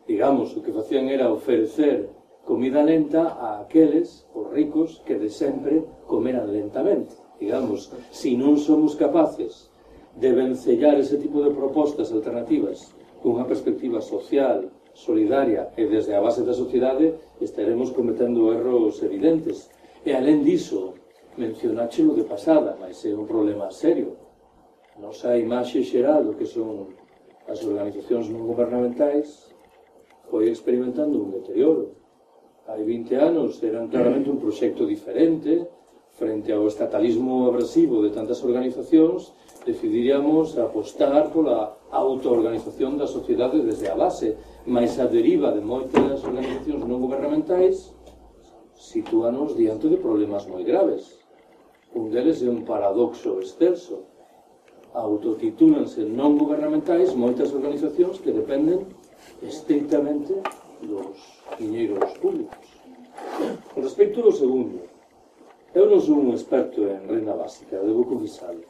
Digamos, o que facían era ofrecer comida lenta a aqueles, os ricos, que de sempre comeran lentamente. Digamos, se non somos capaces de vencellar ese tipo de propostas alternativas con unha perspectiva social, solidaria e desde a base da sociedade, estaremos cometendo erros evidentes. E alén diso, mencionáchelo de pasada, mas é un problema serio. Nosa imaxe xeral do que son as organizacións non gubernamentais foi experimentando un deterioro. Hai 20 anos eran claramente un proxecto diferente. Frente ao estatalismo abrasivo de tantas organizacións, decidiríamos apostar pola autoorganización da sociedade desde a base, mas a deriva de moitas organizacións non gubernamentais sitúanos diante de problemas moi graves. Un deles é un paradoxo excelso. Autotitúlanse non gubernamentais moitas organizacións que dependen estrictamente dos diñeiros públicos. Con respecto ao segundo, eu non sou un experto en renda básica, debo confesarlo.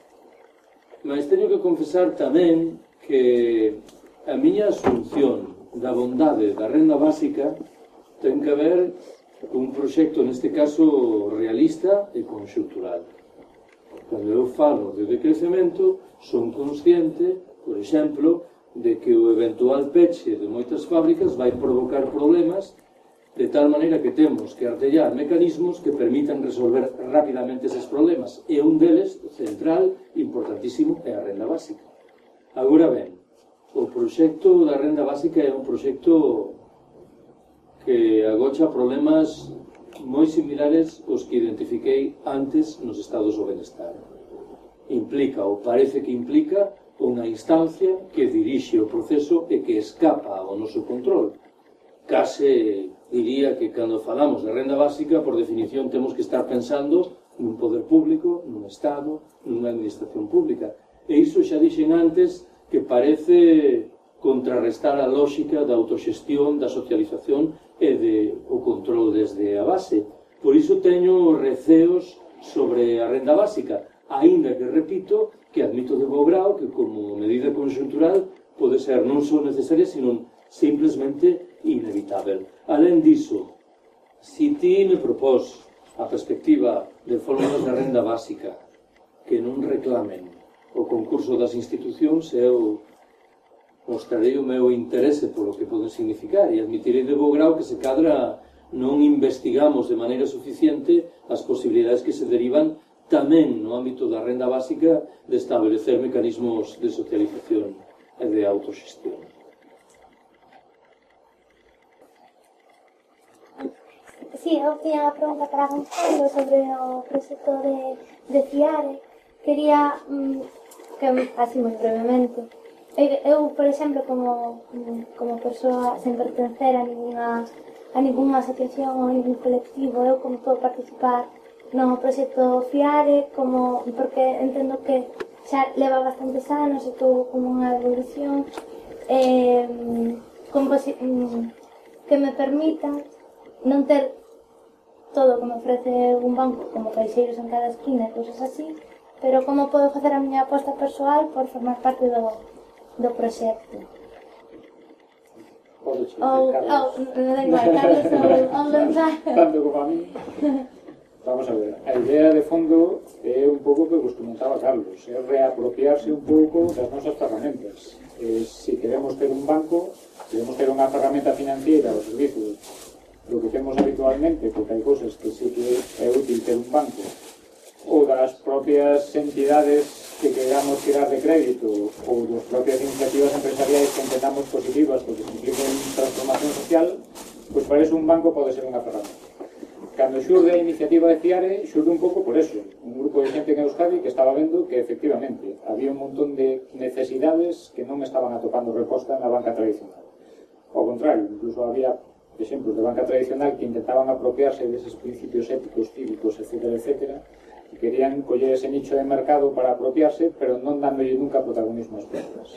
Mas teño que confesar tamén que a miña asunción da bondade da renda básica ten que ver con un proxecto, neste caso, realista e conxuntural. Cando eu falo de decrecemento, son consciente, por exemplo, de que o eventual peche de moitas fábricas vai provocar problemas de tal maneira que temos que artellar mecanismos que permitan resolver rapidamente eses problemas. E un deles, central, importantísimo, é a renda básica. Agora ben, o proxecto da renda básica é un proxecto que agocha problemas moi similares aos que identifiquei antes nos estados do benestar. Implica, ou parece que implica, unha instancia que dirixe o proceso e que escapa ao noso control. Case diría que cando falamos de renda básica, por definición, temos que estar pensando nun poder público, nun Estado, nunha administración pública. E iso xa dixen antes que parece contrarrestar a lógica da autoxestión, da socialización e o control desde a base. Por iso teño receos sobre a renda básica, aínda que repito que admito de bo grao que como medida conxuntural pode ser non só necesaria, sino simplemente inevitável. Alén diso, se ti me propós a perspectiva de fórmulas de renda básica que non reclamen o concurso das institucións, eu mostrarei o meu interese polo que poden significar e admitirei de bo grao que se cadra non investigamos de maneira suficiente as posibilidades que se derivan tamén no ámbito da renda básica de establecer mecanismos de socialización e de autoxestión. Sí, eu tiña unha pregunta para Gonzalo sobre o proxecto de FIARE. Quería que, así moi brevemente, eu, por exemplo, como persoa sen pertencer a ninguna asociación ou ningún colectivo, eu como podo participar no proxecto FIARE, porque entendo que xa leva bastantes anos e todo como unha evolución que me permita non ter todo o que me ofrece un banco, como caixeiros en cada esquina e cousas así, pero como podo facer a miña aposta persoal por formar parte do proxecto. Ou, non da igual, Carlos ou Gonzalo. Tanto como a mí. Vamos a ver, a idea de fondo é un pouco que vos comentaba Carlos, é reapropiarse un pouco das nosas ferramentas. Se queremos ter un banco, queremos ter unha ferramenta financiera ao servicio do que temos habitualmente, porque hai cousas que sí que é útil ter un banco, ou das propias entidades que queramos tirar de crédito, ou das propias iniciativas empresariais que entendamos positivas porque se impliquen transformación social, pois para eso un banco pode ser unha ferramenta. Cando xurde a iniciativa de Fiare, xurde un pouco por eso. Un grupo de xente en Euskadi que estaba vendo que, efectivamente, había un montón de necesidades que non estaban atopando resposta na banca tradicional. Ao contrario, incluso había exemplos de banca tradicional que intentaban apropiarse deses principios éticos, cívicos, etc., que querían coller ese nicho de mercado para apropiarse, pero non dándolle nunca protagonismo ás perdas.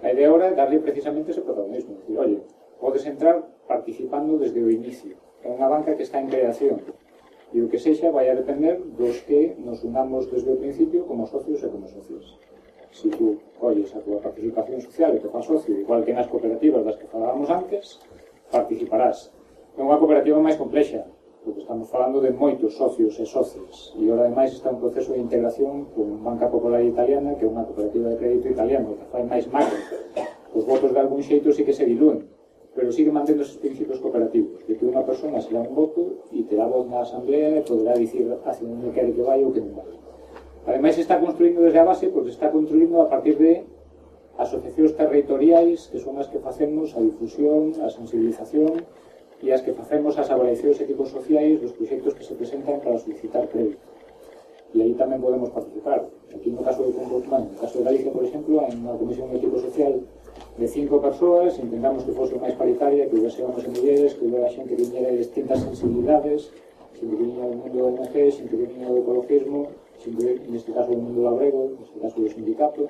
A idea ahora é darle precisamente ese protagonismo. Decir, oye, podes entrar participando desde o inicio. É unha banca que está en creación e o que sexa vai a depender dos que nos unamos desde o principio como socios e como socios. Se tú colles a tua participación social e te faz socio, igual que nas cooperativas das que falábamos antes, participarás. É unha cooperativa máis complexa, porque estamos falando de moitos socios e socias e ahora ademais está un proceso de integración con Banca Popular Italiana, que é unha cooperativa de crédito italiano que fai máis macro. Os votos de algún xeito sí que se dilúen, pero sigue mantendo esos principios cooperativos, de que unha persona se dá un voto e te dá voz na asamblea e poderá dicir hacia onde quere que vai ou que non vai. Ademais, está construindo desde a base, porque está construindo a partir de asociacións territoriais, que son as que facemos a difusión, a sensibilización e as que facemos as avaliacións éticos-sociais dos proxectos que se presentan para solicitar crédito. E aí tamén podemos participar. Aquí no caso de Galicia, por exemplo, en unha comisión ético-social de 5 persoas, intentamos que fose máis paritaria, que houvese homes e mulleres, que houvera xente que viñera de distintas sensibilidades, xente que viñera do mundo do ONG, xente que viñera do ecologismo, xente, neste caso do mundo labrego, neste caso do sindicato.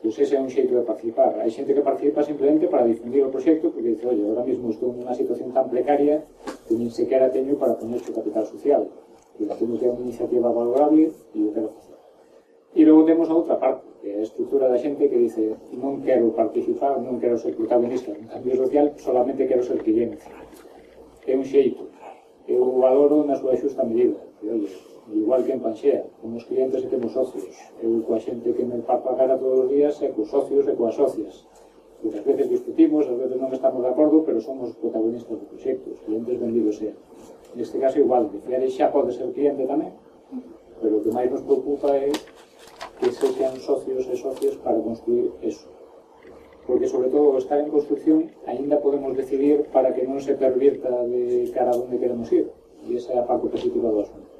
Pois ese é un xeito de participar. Hai xente que participa simplemente para difundir o proxecto, porque dice, oye, ahora mesmo estou nunha situación tan precaria que nin sequera teño para poner o capital social. Que teño que é unha iniciativa valorable e o quero facer. E logo temos a outra parte, que é a estrutura da xente que dice, non quero participar, non quero ser protagonista en cambio social, solamente quero ser cliente. É un xeito. Eu valoro na súa xusta medida. E, oye, igual que en Panxea, temos clientes e temos socios. Eu coa xente que me parto a cara todos os días é cos socios e coas socias. Porque ás veces discutimos, ás veces non estamos de acordo, pero somos protagonistas do proxecto, os clientes vendidos sean. Neste caso igual, de Fiare xa pode ser cliente tamén, pero o que máis nos preocupa é que sexan socios e socias para construir eso. Porque, sobre todo, estar en construcción, aínda podemos decidir para que non se pervirta de cara a onde queremos ir. E esa é a parte positiva do asunto.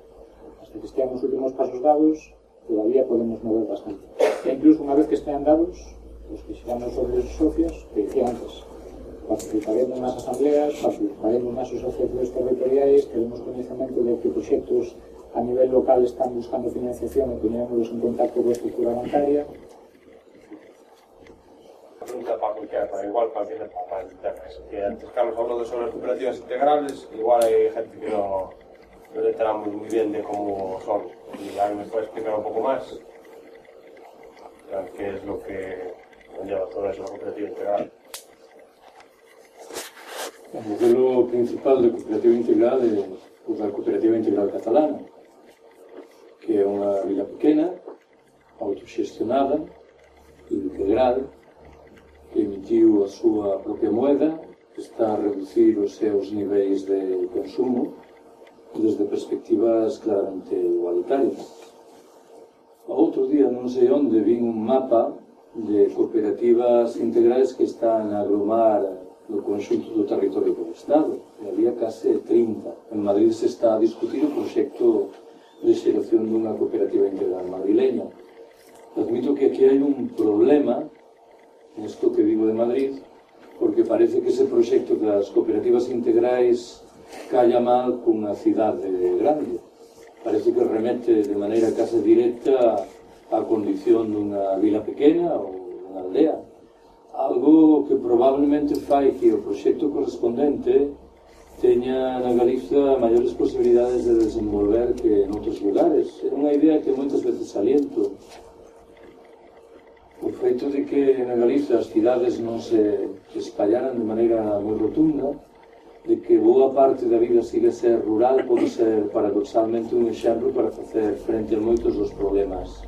Hasta que estean os últimos pasos dados, todavía podemos mover bastante. E incluso unha vez que estean dados, os que xeramos sobre os socios, que dicía antes, participaremos nas asambleas, participaremos nas asociacións territoriais, teremos conhecimento de que proxectos a nivel local están buscando financiación e poñémonos en contacto coa estructura bancaria. Pregunta para cualquiera, para igual para quien para internas. Que antes Carlos habló de sobre las cooperativas integrales, igual hay gente que no le enteramos muy bien de cómo son. Y alguien me puede explicar un poco más qué es lo que conlleva todo eso, la cooperativa integral. O modelo principal de cooperativa integral é o da cooperativa integral catalana, que é unha vila pequena, autoxestionada, integral, que emitiu a súa propia moeda, que está a reducir os seus niveis de consumo desde perspectivas claramente igualitarias. O outro día, non sei onde, vin un mapa de cooperativas integrales que están a agromar no conxunto do territorio do Estado. E había case 30. En Madrid se está a discutir o proxecto de xeración dunha cooperativa integral madrileña. Admito que aquí hai un problema nesto que vivo de Madrid, porque parece que ese proxecto das cooperativas integrais calla mal cunha cidade grande. Parece que remete de maneira case directa á condición dunha vila pequena ou dunha aldea. Algo que probablemente fai que o proxecto correspondente teña na Galiza maiores posibilidades de desenvolver que en outros lugares. É unha idea que moitas veces saliento. O feito de que na Galiza as cidades non se espallaran de maneira moi rotunda, de que boa parte da vida siga ser rural, pode ser paradoxalmente un exemplo para facer frente a moitos dos problemas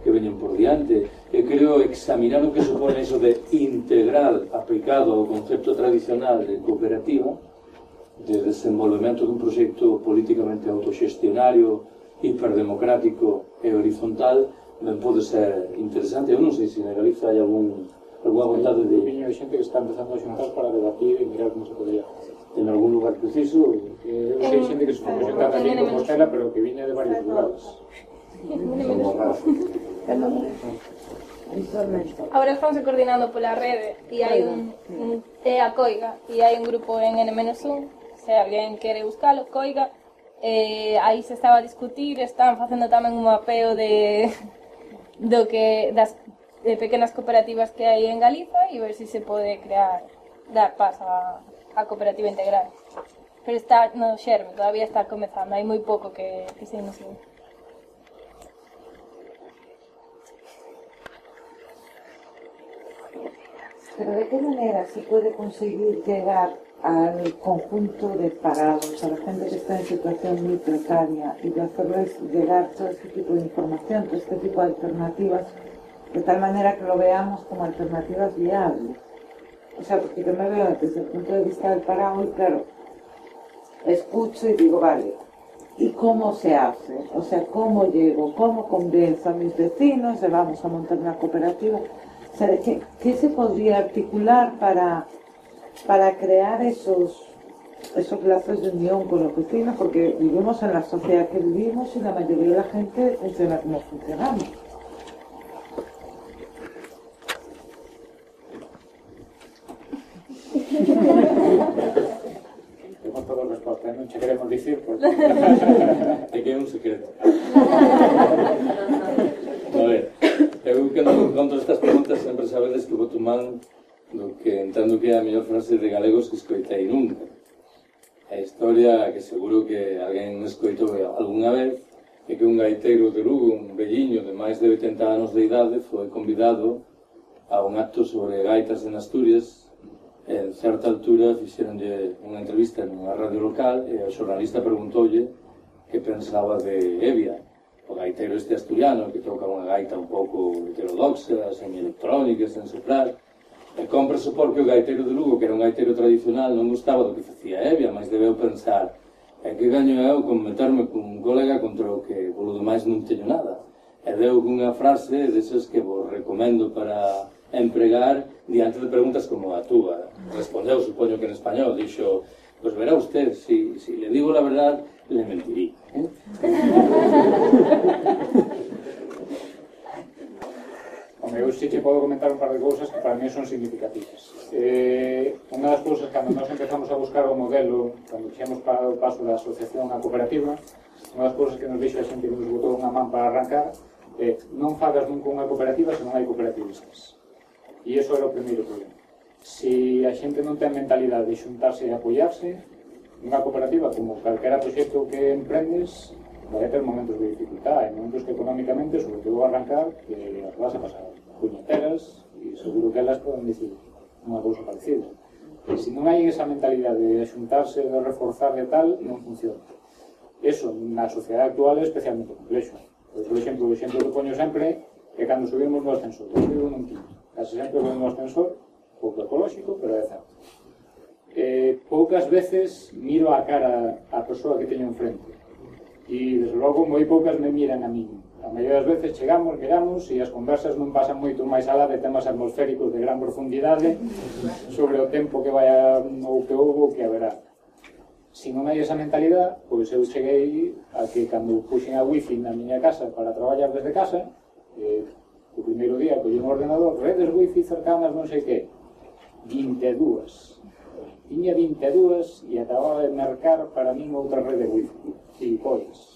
que veñen por diante. Eu creo examinar o que supone iso de integral aplicado ao concepto tradicional de cooperativa, de desenvolvemento dun proxecto políticamente autoxestionario, hiperdemocrático e horizontal, ben pode ser interesante. Eu non sei se na Galiza hai alguna vontade de... Viño de xente que está empezando a xuntar para debatir e mirar como se podría facer. En algún lugar preciso? Eu sei xente que se foi xuntar aquí en Compostela, pero que viña de varios lugares. Ahora estamos coordinando pola rede e hai a Coiga e hai un grupo en N-1, se alguén quere buscalo, Coiga, aí se estaba a discutir, están facendo tamén un mapeo das pequenas cooperativas que hai en Galiza e ver se se pode dar paso a cooperativa integral. Pero está no xerme, todavía está comezando, hai moi pouco que se inició. Pero ¿de qué manera se puede conseguir llegar al conjunto de parados, a la gente que está en situación muy precaria y de hacerles llegar todo este tipo de información, todo este tipo de alternativas, de tal manera que lo veamos como alternativas viables? O sea, porque yo me veo desde el punto de vista del parado y claro, escucho y digo, vale, ¿y cómo se hace? O sea, ¿cómo llego? ¿Cómo convenzo a mis vecinos de vamos a montar una cooperativa? O sea, ¿qué se podría articular para crear esos lazos de unión con los vecinos? Porque vivimos en la sociedad que vivimos y la mayoría de la gente funciona como funcionamos. Tengo toda a resposta, non che queremos dicir, porque... É que é un secreto. A ver, eu cando encontro estas preguntas sempre sabedes que vou tomar do que entendo que é a mellor frase de galegos que escoitei nunca. A historia que seguro que alguén escoitou algunha vez é que un gaiteiro de Lugo, un velliño de máis de 80 anos de idade, foi convidado a un acto sobre gaitas en Asturias. En certa altura fixeronlle unha entrevista nunha radio local e o xornalista preguntoulle que pensaba de Evia, o gaiteiro este asturiano que toca unha gaita un pouco heterodoxa, semi-electrónica, sen soprar. E compre supor que o gaiteiro de Lugo, que era un gaiteiro tradicional, non gustaba do que facía Evia, mas debeu pensar que gaño eu con meterme con un colega contra o que polo demais non teño nada. E deu unha frase desas que vos recomendo para empregar diante de preguntas como a túa. Respondeu, supoño que en español, dixo, pues verá usted, si le digo la verdad, le mentiría. Home, eu sí que podo comentar un par de cousas que para mí son significativas. Unha das cousas, cando nos empezamos a buscar o modelo, cando fixemos para o paso da asociación a cooperativa, unha das cousas que nos dixo a xente que nos botou unha man para arrancar é non fagas nunca unha cooperativa se non hai cooperativistas. E iso era o primeiro problema. Se a xente non ten mentalidade de xuntarse e apoiarse, unha cooperativa, como calquera proxecto que emprendes, vai ter momentos de dificultad, hai momentos que económicamente, sobre todo arrancar, que as vas a pasar puñeteras, e seguro que elas poden dicir unha cousa parecida. E se non hai esa mentalidade de xuntarse, de reforzar e tal, non funciona. Eso, na sociedade actual, é especialmente complexo. Por exemplo, o exemplo que poño sempre é cando subimos no ascensor. Eu vivo nun quinto. Casi sempre vou no ascensor, pouco ecolóxico, pero é certo. Poucas veces miro a cara a persoa que teño enfrente. E, desde logo, moi poucas me miran a mí. A maioria das veces chegamos, miramos, e as conversas non pasan moito máis alá de temas atmosféricos de gran profundidade sobre o tempo que vai ou que houve ou que haberá. Se non hai esa mentalidade, pois eu cheguei a que cando puxen a wifi na miña casa para traballar desde casa, o primeiro día collí un ordenador, redes wifi cercanas non sei que, 22. Tiña 22 e acababa de mercar para min outra rede wifi. E pois,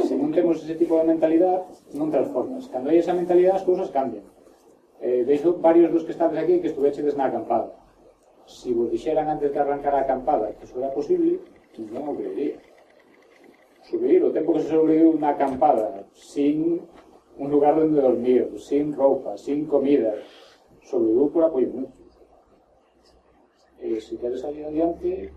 se non temos ese tipo de mentalidade, non transformas. Cando hai esa mentalidade, as cousas cambian. Veixo varios dos que estades aquí que estuvechedes na acampada. si vos dixeran antes de arrancar a acampada que eso era posible, non o creería. Sobrevivir o tempo que se sobreviviu unha acampada sin un lugar donde dormir, sin roupa, sin comida, sobreviviu por apoio mutuo. E se queres salir adiante,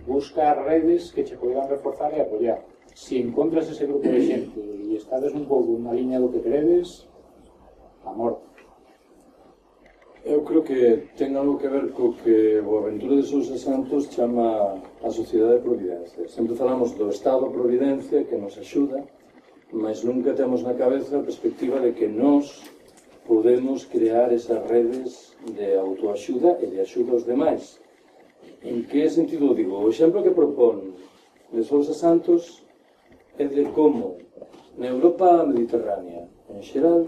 busca redes que che poderán reforzar e apoiar. Se encontras ese grupo de xente e estades un pouco na liña do que queredes, a morte. Eu creo que ten algo que ver co que o Aventura de Sousa Santos chama a Sociedade de Providencia. Sempre falamos do Estado Providencia que nos axuda, mas nunca temos na cabeza a perspectiva de que nós podemos crear esas redes de autoaxuda e de axuda aos demais. En que sentido digo? O exemplo que propón de Sousa Santos é de como na Europa mediterránea, en xeral,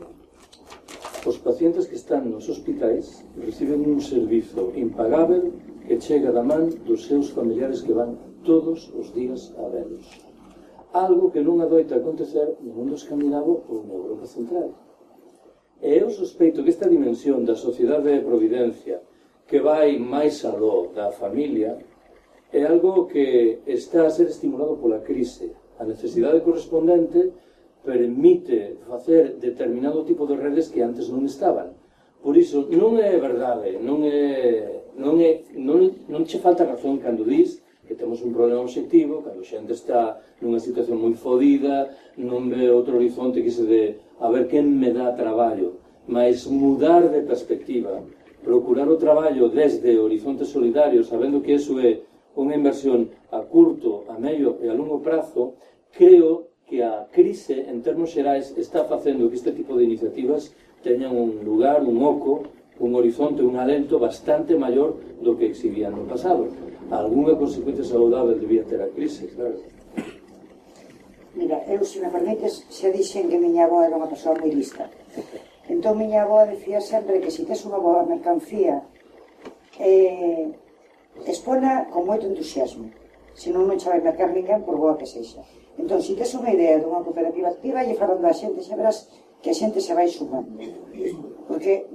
os pacientes que están nos hospitais reciben un servizo impagável que chega da man dos seus familiares que van todos os días a velos. Algo que non adoita acontecer no mundo escandinavo ou na Europa central. E eu sospeito que esta dimensión da sociedade de providencia que vai máis aló da familia é algo que está a ser estimulado pola crise. A necesidade correspondente permite facer determinado tipo de redes que antes non estaban. Por iso, non é verdade, non che falta razón cando dis que temos un problema obxectivo, cando a xente está nunha situación moi fodida, non ve outro horizonte que se de a ver quen me dá traballo, mas mudar de perspectiva, procurar o traballo desde horizontes solidarios, sabendo que eso é unha inversión a curto, a medio e a longo prazo, creo que a crise, en termos xerais, está facendo que este tipo de iniciativas teñan un lugar, un oco, un horizonte, un alento bastante maior do que exhibían no pasado. Alguna consecuencia saudável debía ter a crise, claro. Mira, eu, se me permites, xa dixen que miña avó era unha persoa moi lista. Entón, miña avó decía sempre que se tes unha boa mercancía, expona con moito entusiasmo. Senón non xa vai mercar ninguén por boa que sexa. Entón, se tes unha idea dunha cooperativa activa, e falando a xente, xa verás que a xente se vai sumando. Porque,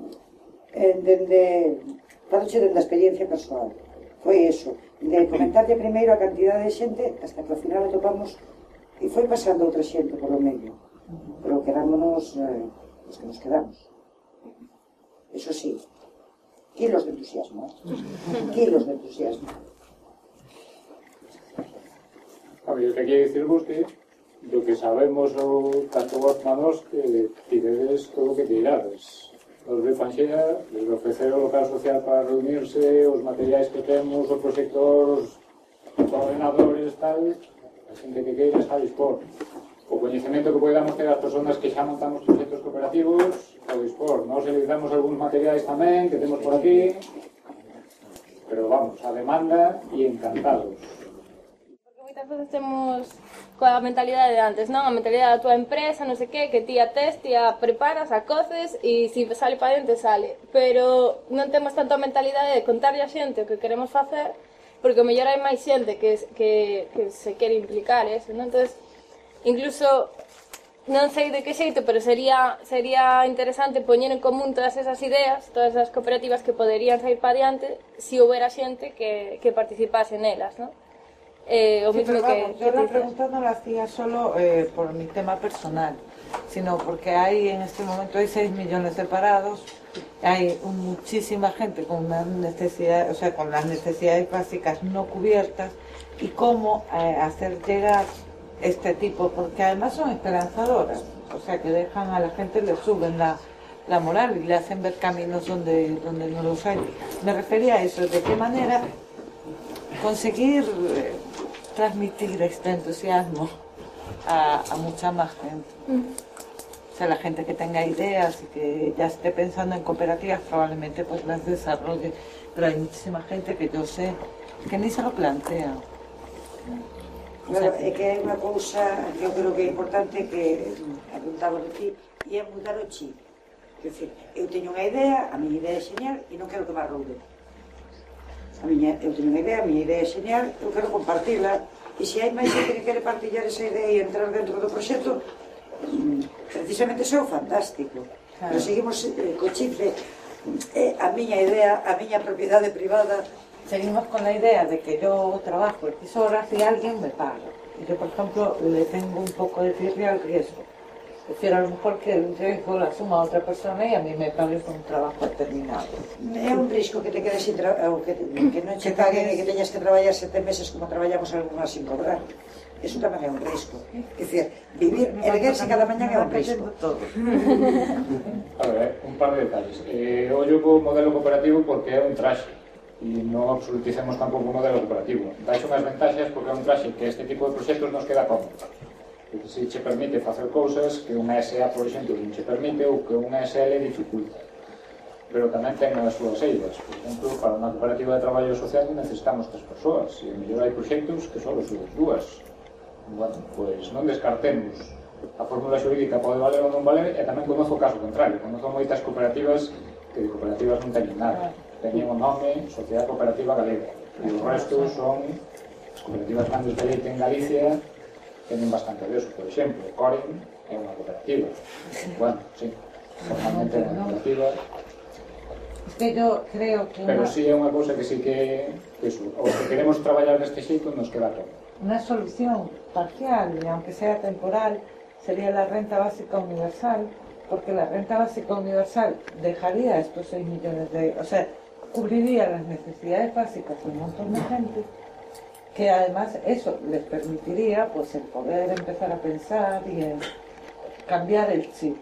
faloche dende a experiencia persoal, foi eso, de comentarlle primeiro a cantidade de xente, hasta que ao final atopamos, e foi pasando outra xente por o medio. Pero quedámonos os que nos quedamos. Eso sí, kilos de entusiasmo, kilos de entusiasmo. Eu te quero dicirvos que do que sabemos tanto vos manos que tiredes todo o que tirades. Os de Fanxea, les ofrecer o local social para reunirse, os materiais que temos, os proxectores, os ordenadores, tal, a xente que queira está a dispor. O coñecemento que podamos ter as persoas que xa montamos proxectos cooperativos, a dispor. Nos utilizamos algúns materiais tamén que temos por aquí, pero vamos, a demanda e encantados. Moitas veces temos coa mentalidade de antes, non? A mentalidade da tua empresa, non sei que ti a tes, ti a preparas, a coces e se sale para dentro, sale. Pero non temos tanto a mentalidade de contarlle a xente o que queremos facer, porque o mellor hai máis xente que se quere implicar eso, non? Entonces, incluso, non sei de que xeito, pero sería interesante poñer en común todas esas ideas, todas esas cooperativas que poderían sair para diante se houbera xente que participase nelas, non? Yo la pregunta no la hacía solo por mi tema personal, sino porque en este momento hay 6 millones de parados, hay muchísima gente con unas necesidades, o sea, con las necesidades básicas no cubiertas, y cómo hacer llegar este tipo, porque además son esperanzadoras, o sea, que dejan a la gente, le suben la moral y le hacen ver caminos donde no los hay. Me refería a eso, de qué manera conseguir transmitir este entusiasmo a mucha más gente. O sea, la gente que tenga ideas y que ya esté pensando en cooperativas probablemente pues las desarrolle, pero hay muchísima gente que yo sé que ni se lo plantea. Claro, é que é unha cousa que eu creo que é importante que apuntaba de ti, e é mudar o chip. Quer dizer, eu teño unha idea, a miña idea é xeñal e non quero que me arroube. Eu teño unha idea, a miña idea é xeñal, eu quero compartila, e se hai máis xente que quere partillar esa idea e entrar dentro do proxecto, precisamente iso é o fantástico. Pero seguimos co chip de A miña idea, a miña propiedade privada. Seguimos con la idea de que yo trabajo X horas y alguien me paga. Y yo, por ejemplo, le tengo un poco de tirria al riesgo. Prefiero a lo mejor que el riesgo lo asuma otra persona y a mí me pague por un trabajo determinado. É un risco que te quedes sin trabajo, que non che paguen e que teñas que traballar 7 meses como traballamos algunhas sin cobrar. Eso tamén é un risco. É dicir, vivir, erguerse cada mañán é un risco. A ver, un par de detalles. Ollo co modelo cooperativo porque é un traxe e non absoluticemos tampouco o modelo cooperativo. Daxe unhas ventaxas porque é un traxe que este tipo de proxectos nos queda cómodo. Se che permite facer cousas que unha SA, por exemplo, non che permite ou que unha SL dificulta. Pero tamén ten as súas eiras. Por exemplo, para unha cooperativa de traballo social necesitamos 3 persoas e mellor hai proxectos que só os subes 2. Bueno, pois non descartemos. A fórmula xurídica pode valer ou non valer e tamén conozo o caso contrario. Conozo moitas cooperativas que de cooperativas non teñen nada. Teñen o nome Sociedade Cooperativa Galega e o resto son as cooperativas grandes de leite en Galicia. Teñen bastante de eso, por exemplo, Coren é unha cooperativa. Bueno, sí, formalmente é unha cooperativa. Es que yo creo que... Pero sí é unha cousa que sí que eso, os que queremos traballar deste xeito nos queda todo. Una solución parcial, y aunque sea temporal, sería la renta básica universal, porque la renta básica universal dejaría estos 6 millones de... O sea, cubriría las necesidades básicas de un montón de gente, que además eso les permitiría pues el poder empezar a pensar y en cambiar el chip.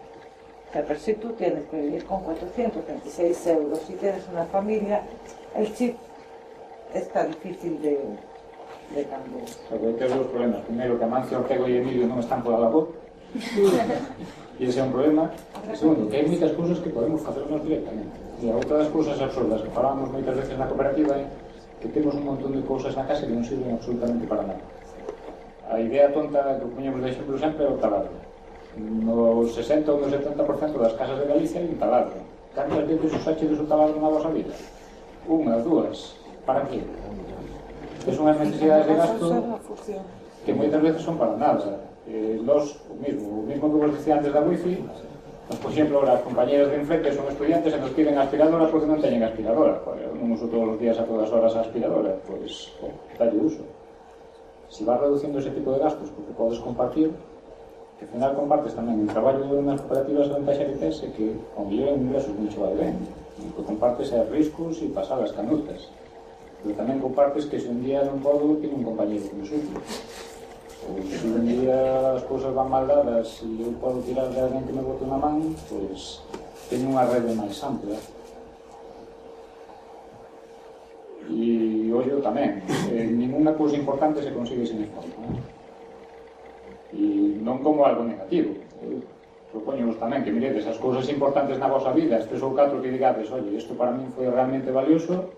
O sea, pero si tú tienes que vivir con 426 euros, si tienes una familia, el chip está difícil de cambiar. Porque hay dos problemas. Primero, que Amancio, Ortego y Emilio non están por la labor. E ese é un problema. E segundo, que hai moitas cousas que podemos facernos directamente. E a outra das cousas absurdas que falamos moitas veces na cooperativa é que temos un montón de cousas na casa que non sirven absolutamente para nada. A idea tonta que poñemos de exemplo sempre é o taladro. No 60 ou no 70% das casas de Galicia hai un taladro. Cantas veces usaxedes o taladro na vosa vida? Unha, dúas. Para qué? Que son as necesidades de gasto que moitas veces son para nada. O mismo que vos dicía antes da wifi. Por exemplo, as compañeras de enfrente son estudiantes e nos piden aspiradora porque non teñen aspiradora. Non uso todos os días a todas horas a aspiradora, pois dalle uso. Se vas reducindo ese tipo de gastos porque podes compartir, que ao final compartes tamén o traballo nas cooperativas de ventaxa que tes e que ao mellor en ingresos non che vai ben. O que compartes é riscos e pasadas canutas. Pero tamén compartes que se un día non podo, teño un compañeiro que me suple. Ou se un día as cousas van mal dadas e eu podo tirar de alguén que me bote unha man, pois teño unha rede máis ampla. E ollo tamén, ninguna cousa importante se consigue sin esforzo. E non como algo negativo. Propoñemos tamén que miredes as cousas importantes na vosa vida, estes ou 4 que digades, oye, isto para min foi realmente valioso.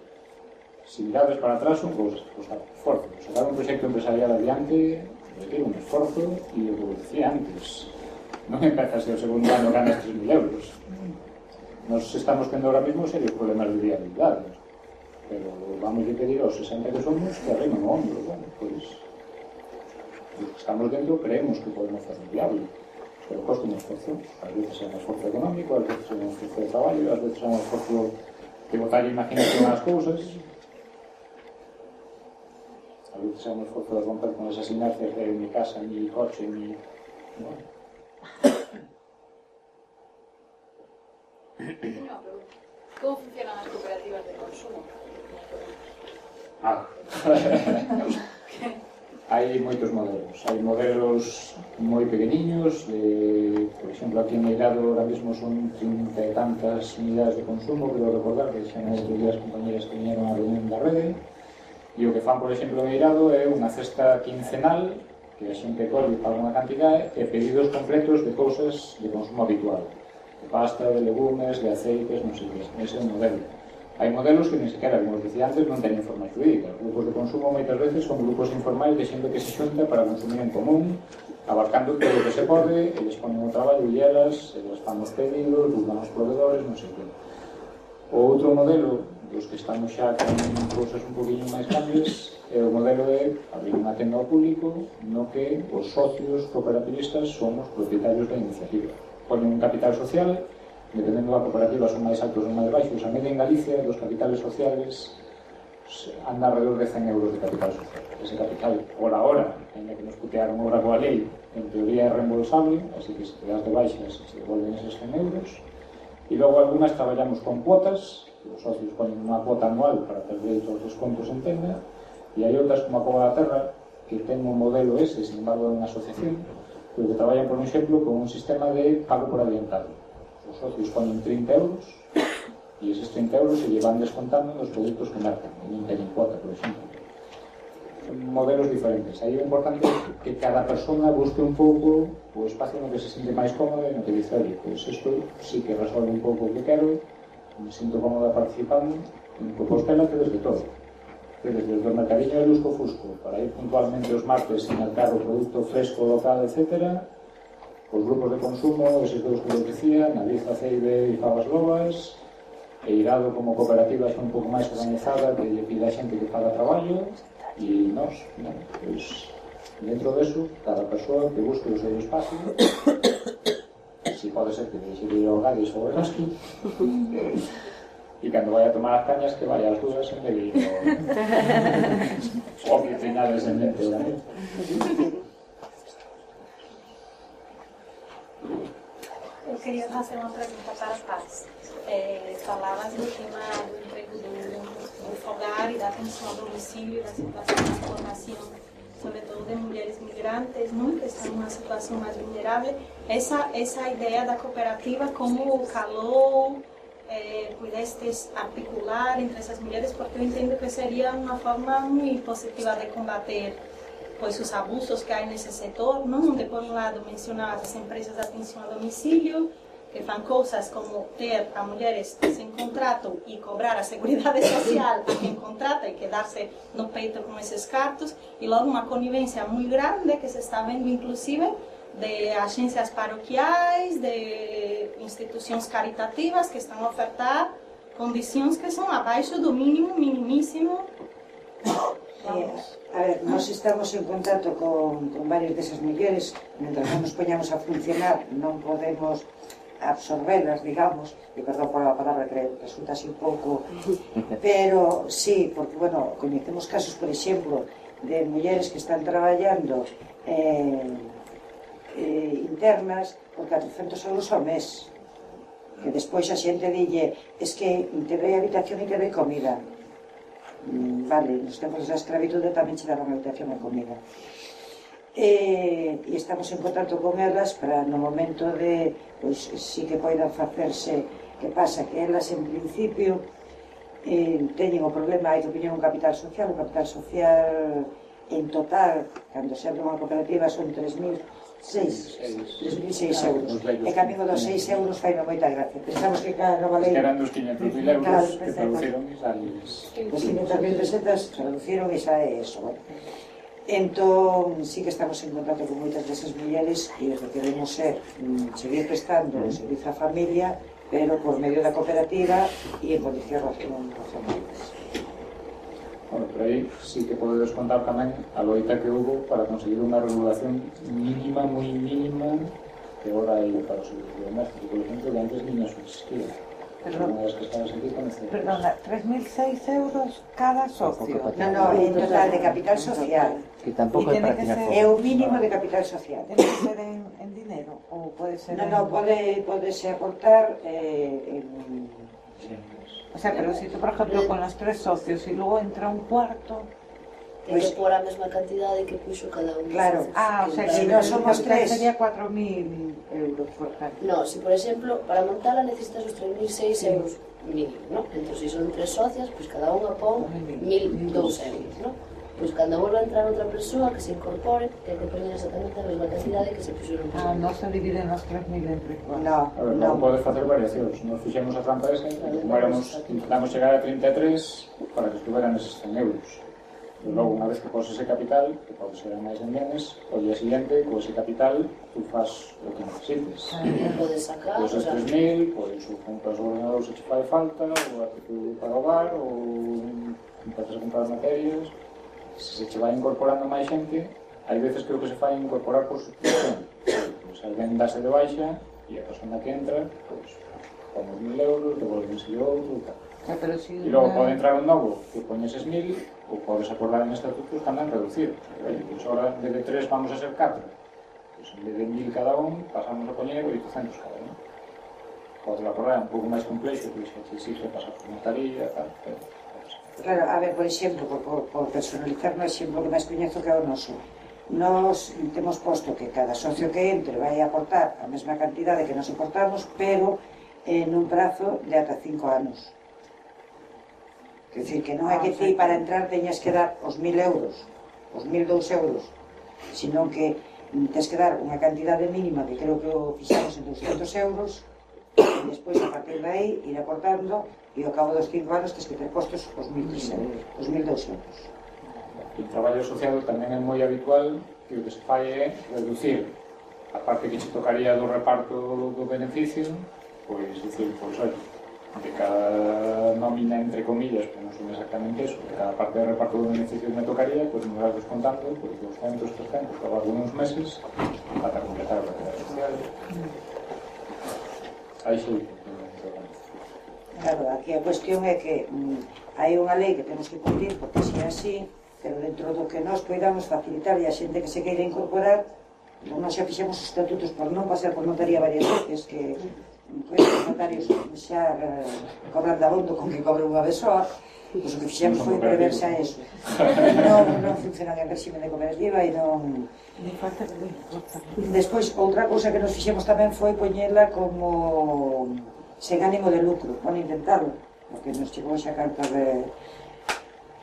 Se mirades para atrás son cousas que costan esforzo. Sacar un proxecto empresarial adiante requiere un esforzo e o que decía antes, non empezas o segundo ano ganas 3.000 euros. Nos estamos tendo ahora mismo serios problemas de viabilidade, pero vamos a pedir aos 60 que somos que arrimen o hombro. Bueno, pois os que estamos dentro creemos que podemos fazer viable, pero costa un esforzo. A veces é un esforzo económico, a veces é un esforzo de traballo, a veces é un esforzo de botar imaginación ás cousas. A veces é un esforzo de romper con esas inercias de mi casa, mi coche, mi... Bueno. ¿Cómo funcionan as cooperativas de consumo? Hai moitos modelos. Hai modelos moi pequeniños, por exemplo, aquí en Meirado ahora mesmo son 30 e tantas unidades de consumo, quero recordar que xa non outros días compañeras que viñeron á reunión da rede. E o que fan, por exemplo, en Meirado é unha cesta quincenal que a xente colle para unha cantidade e pedidos completos de cousas de consumo habitual, de pasta, de legumes, de aceites, non sei que. Ese é o modelo. Hai modelos que, ni sequera, como os dicía antes, non teñen forma jurídica. Os grupos de consumo moitas veces son grupos informais de xente que se xunta para consumir en común, abarcando todo o que se pode, eles ponen o traballo e elas fan os pedidos, buscan os proveedores, non sei que. O outro modelo, dos que estamos xa con cousas un poquinho máis grandes, é o modelo de abrir unha tenda ao público no que os socios cooperativistas son os propietarios da iniciativa. Ponen un capital social dependendo da cooperativa, son máis altos ou máis baixos. A media en Galicia dos capitales sociales anda alrededor de 100 euros de capital social. Ese capital, hora, en que nos putearon obra coa lei, en teoría é reembolsable, así que se te das de baixas se devolven esos 100 euros. E logo algunas traballamos con cuotas, os socios ponen unha cuota anual para ter dereito aos descontos en tenda, e hai outras como a Cova da Terra que ten un modelo ese, sin embargo é unha asociación, pero que traballan, por exemplo, con un sistema de pago por adiantado. Os socios ponen 30 euros e eses 30 euros se llevan descontando nos produtos que marcan, non teñen cuota, por exemplo. Son modelos diferentes. Aí é importante que cada persona busque un pouco o espacio no que se siente máis cómodo e no que dice, oye, pois isto sí que resolve un pouco o que quero, me sinto cómoda participando, en Compostela que desde todo. Desde o mercadillo de Lusco Fusco, para ir puntualmente os martes e mercar o produto fresco, local, etc., os grupos de consumo, eses dous que eu decía, Naviza, Ceibe e Favas Lobas, e Irado como cooperativa xa un pouco máis organizada, que lle pide a xente que faga traballo, e nós, pois, dentro deso, cada persoa que busque o seu espacio, si pode ser que deixe de ir ao Gadis ou ao Erasco, e cando vai a tomar as cañas que vai ás dúas en vez de ir ao oficinar descendente da mente. Eu queria fazer uma pergunta para a Paz. Falavas do tema do emprego do fogar e da atenção ao domicílio e da situação de formação, sobretudo de mulheres migrantes, não? Que estão numa situação mais vulnerável. Essa ideia da cooperativa, como calou, pudestes articular entre essas mulheres, porque eu entendo que seria uma forma muito positiva de combater pois os abusos que há nesse setor, não? Onde por um lado mencionava as empresas de atenção a domicílio, que fazem coisas como ter a mulheres sem contrato e cobrar a seguridade social a quem contrata e quedar-se no peito com esses cartos, e logo uma conivência muito grande que se está vendo inclusive de agências paroquiais, de instituições caritativas que estão a ofertar condições que são abaixo do mínimo, minimíssimo. A ver, nós estamos en contacto con varias desas mulleres, mentre non nos poñamos a funcionar non podemos absorberlas, digamos, e perdón por a palabra que resulta así un pouco, pero sí, porque, bueno, coñecemos casos, por exemplo, de mulleres que están traballando internas por 400 euros ao mes, que despois a xente dille, es que te doi habitación e te doi comida. Vale, nos tempos da escravitude tamén che daban habitación e comida. E estamos en contacto con elas para no momento de, pois, si que poidan facerse, que pasa que elas en principio teñen o problema, hai que poñer un capital social, o capital social en total, cando se abre unha cooperativa son 3.006 euros. E camigo dos 6 euros fai moita gracia. Pensamos que cada nova lei... Eran dos 500.000 euros que traduciron e sales. Os 500.000 pesetas traduciron e xa é eso. Entón, sí que estamos en contacto con moitas desas mulleres e o que queremos é seguir prestando o servicio á familia, pero por medio da cooperativa e en condicións razonables. Bueno, por aí sí que podedes contar tamén a loita que houve para conseguir unha regulación mínima, moi mínima, que agora hai para o servicio doméstico, por exemplo, que antes niña subsistía. Perdona, 3.006 euros cada socio. No, en total de capital social. Que tampouco é para tirar é o mínimo de capital social. Ten que ser en dinero ou pode ser No, podese aportar en... O sea, pero si tú, por ejemplo, con los 3 socios y luego entra un cuarto... Ten que pôr a mesma cantidade que puxo cada un. Claro. O sea, que si non somos 3 sería 4.000 euros, por ejemplo. No, si por exemplo, para montarla necesitas os 3.006 euros mínimo, ¿no? Entón, si son 3 socias, pues cada unha pon 1.002 euros, ¿no? Pois cando volva a entrar outra persoa que se incorpore, ten que poñer exactamente a mesma cantidade que se puxeron. Non se dividen os 3.000 entre 4. No, non podes facer variacións. Nos fixemos a trampa esa, intentamos chegar a 33 para que estuveran eses 100 euros. E logo, unha vez que poses ese capital, que pode ser máis en menes, o día siguiente, con ese capital, tú faz o que necesites. Podes sacar... Pois os 3.000, pois o compras o ordenador se che fai falta, o artículo para o hogar, ou empezas a comprar materias... Se che vai incorporando máis xente, hai veces que o que se fai incorporar por substitución. Pois alguén dase de baixa e a persona que entra, pois, pon os 1.000 euros, devolvense outro e tal. E logo pode entrar un novo que pone eses 1.000 ou podes acordar en estatutos tamén reducir. Pois ahora, en vez de 3 vamos a ser 4. Pois en vez de 1.000 cada un, pasamos a poñer 800 cada un. Podes acordar un pouco máis complexo, pois que se exige pasar por notaría, tal, pero... Claro, a ver, por exemplo, por personalizar no exemplo que máis coñezo que é o noso. Nos temos posto que cada socio que entre vai aportar a mesma cantidade que nos aportamos, pero nun prazo de ata 5 anos. Quer dicir, que non é que ti para entrar teñas que dar os 1.000 euros, os 1.002 euros, sino que tens que dar unha cantidade mínima que creo que o fixamos en 200 euros, e despois a partir de aí ir aportando, e ao cabo dos 5 anos tens que ter postos os 1.002 euros. O traballo asociado tamén é moi habitual que o que se fai é reducir a parte que se tocaría do reparto do beneficio, pois dicir, pois olha, de cada nómina entre comillas, que non son exactamente eso, de cada parte de reparto do beneficio que me tocaría, pois me vas descontando pois 200, 300, ao largo de uns meses para completar a realidade social. Aí xo. Claro, aquí a cuestión é que hai unha lei que temos que cumprir porque se é así, pero dentro do que nós poidamos facilitar e a xente que se queira incorporar, nós xa fixemos os estatutos por non pasar por notaría varias veces, que os notarios xa cobran de abondo con que cobre unha vez só, pois o que fixemos foi prever xa eso. Non funcionan en régimen de cooperativa e non... Despois, outra cousa que nos fixemos tamén foi poñela como sen ánimo de lucro, van intentarlo, porque nos chegou xa carta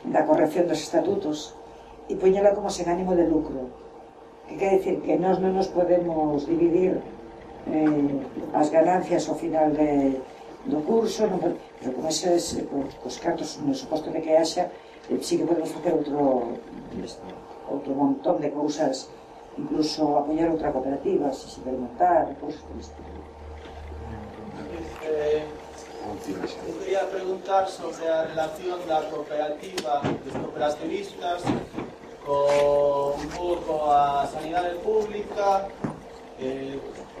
da corrección dos estatutos, e poñela como sen ánimo de lucro, que quer dicir que nós non nos podemos dividir as ganancias ao final do curso, pero con eses os cartos, no suposto de que haxa, sí que podemos facer outro montón de cousas, incluso apoiar outra cooperativa, se se debe montar, cousas por estilo. Eu quería preguntar sobre a relación da cooperativa dos cooperativistas con un pouco a sanidade pública,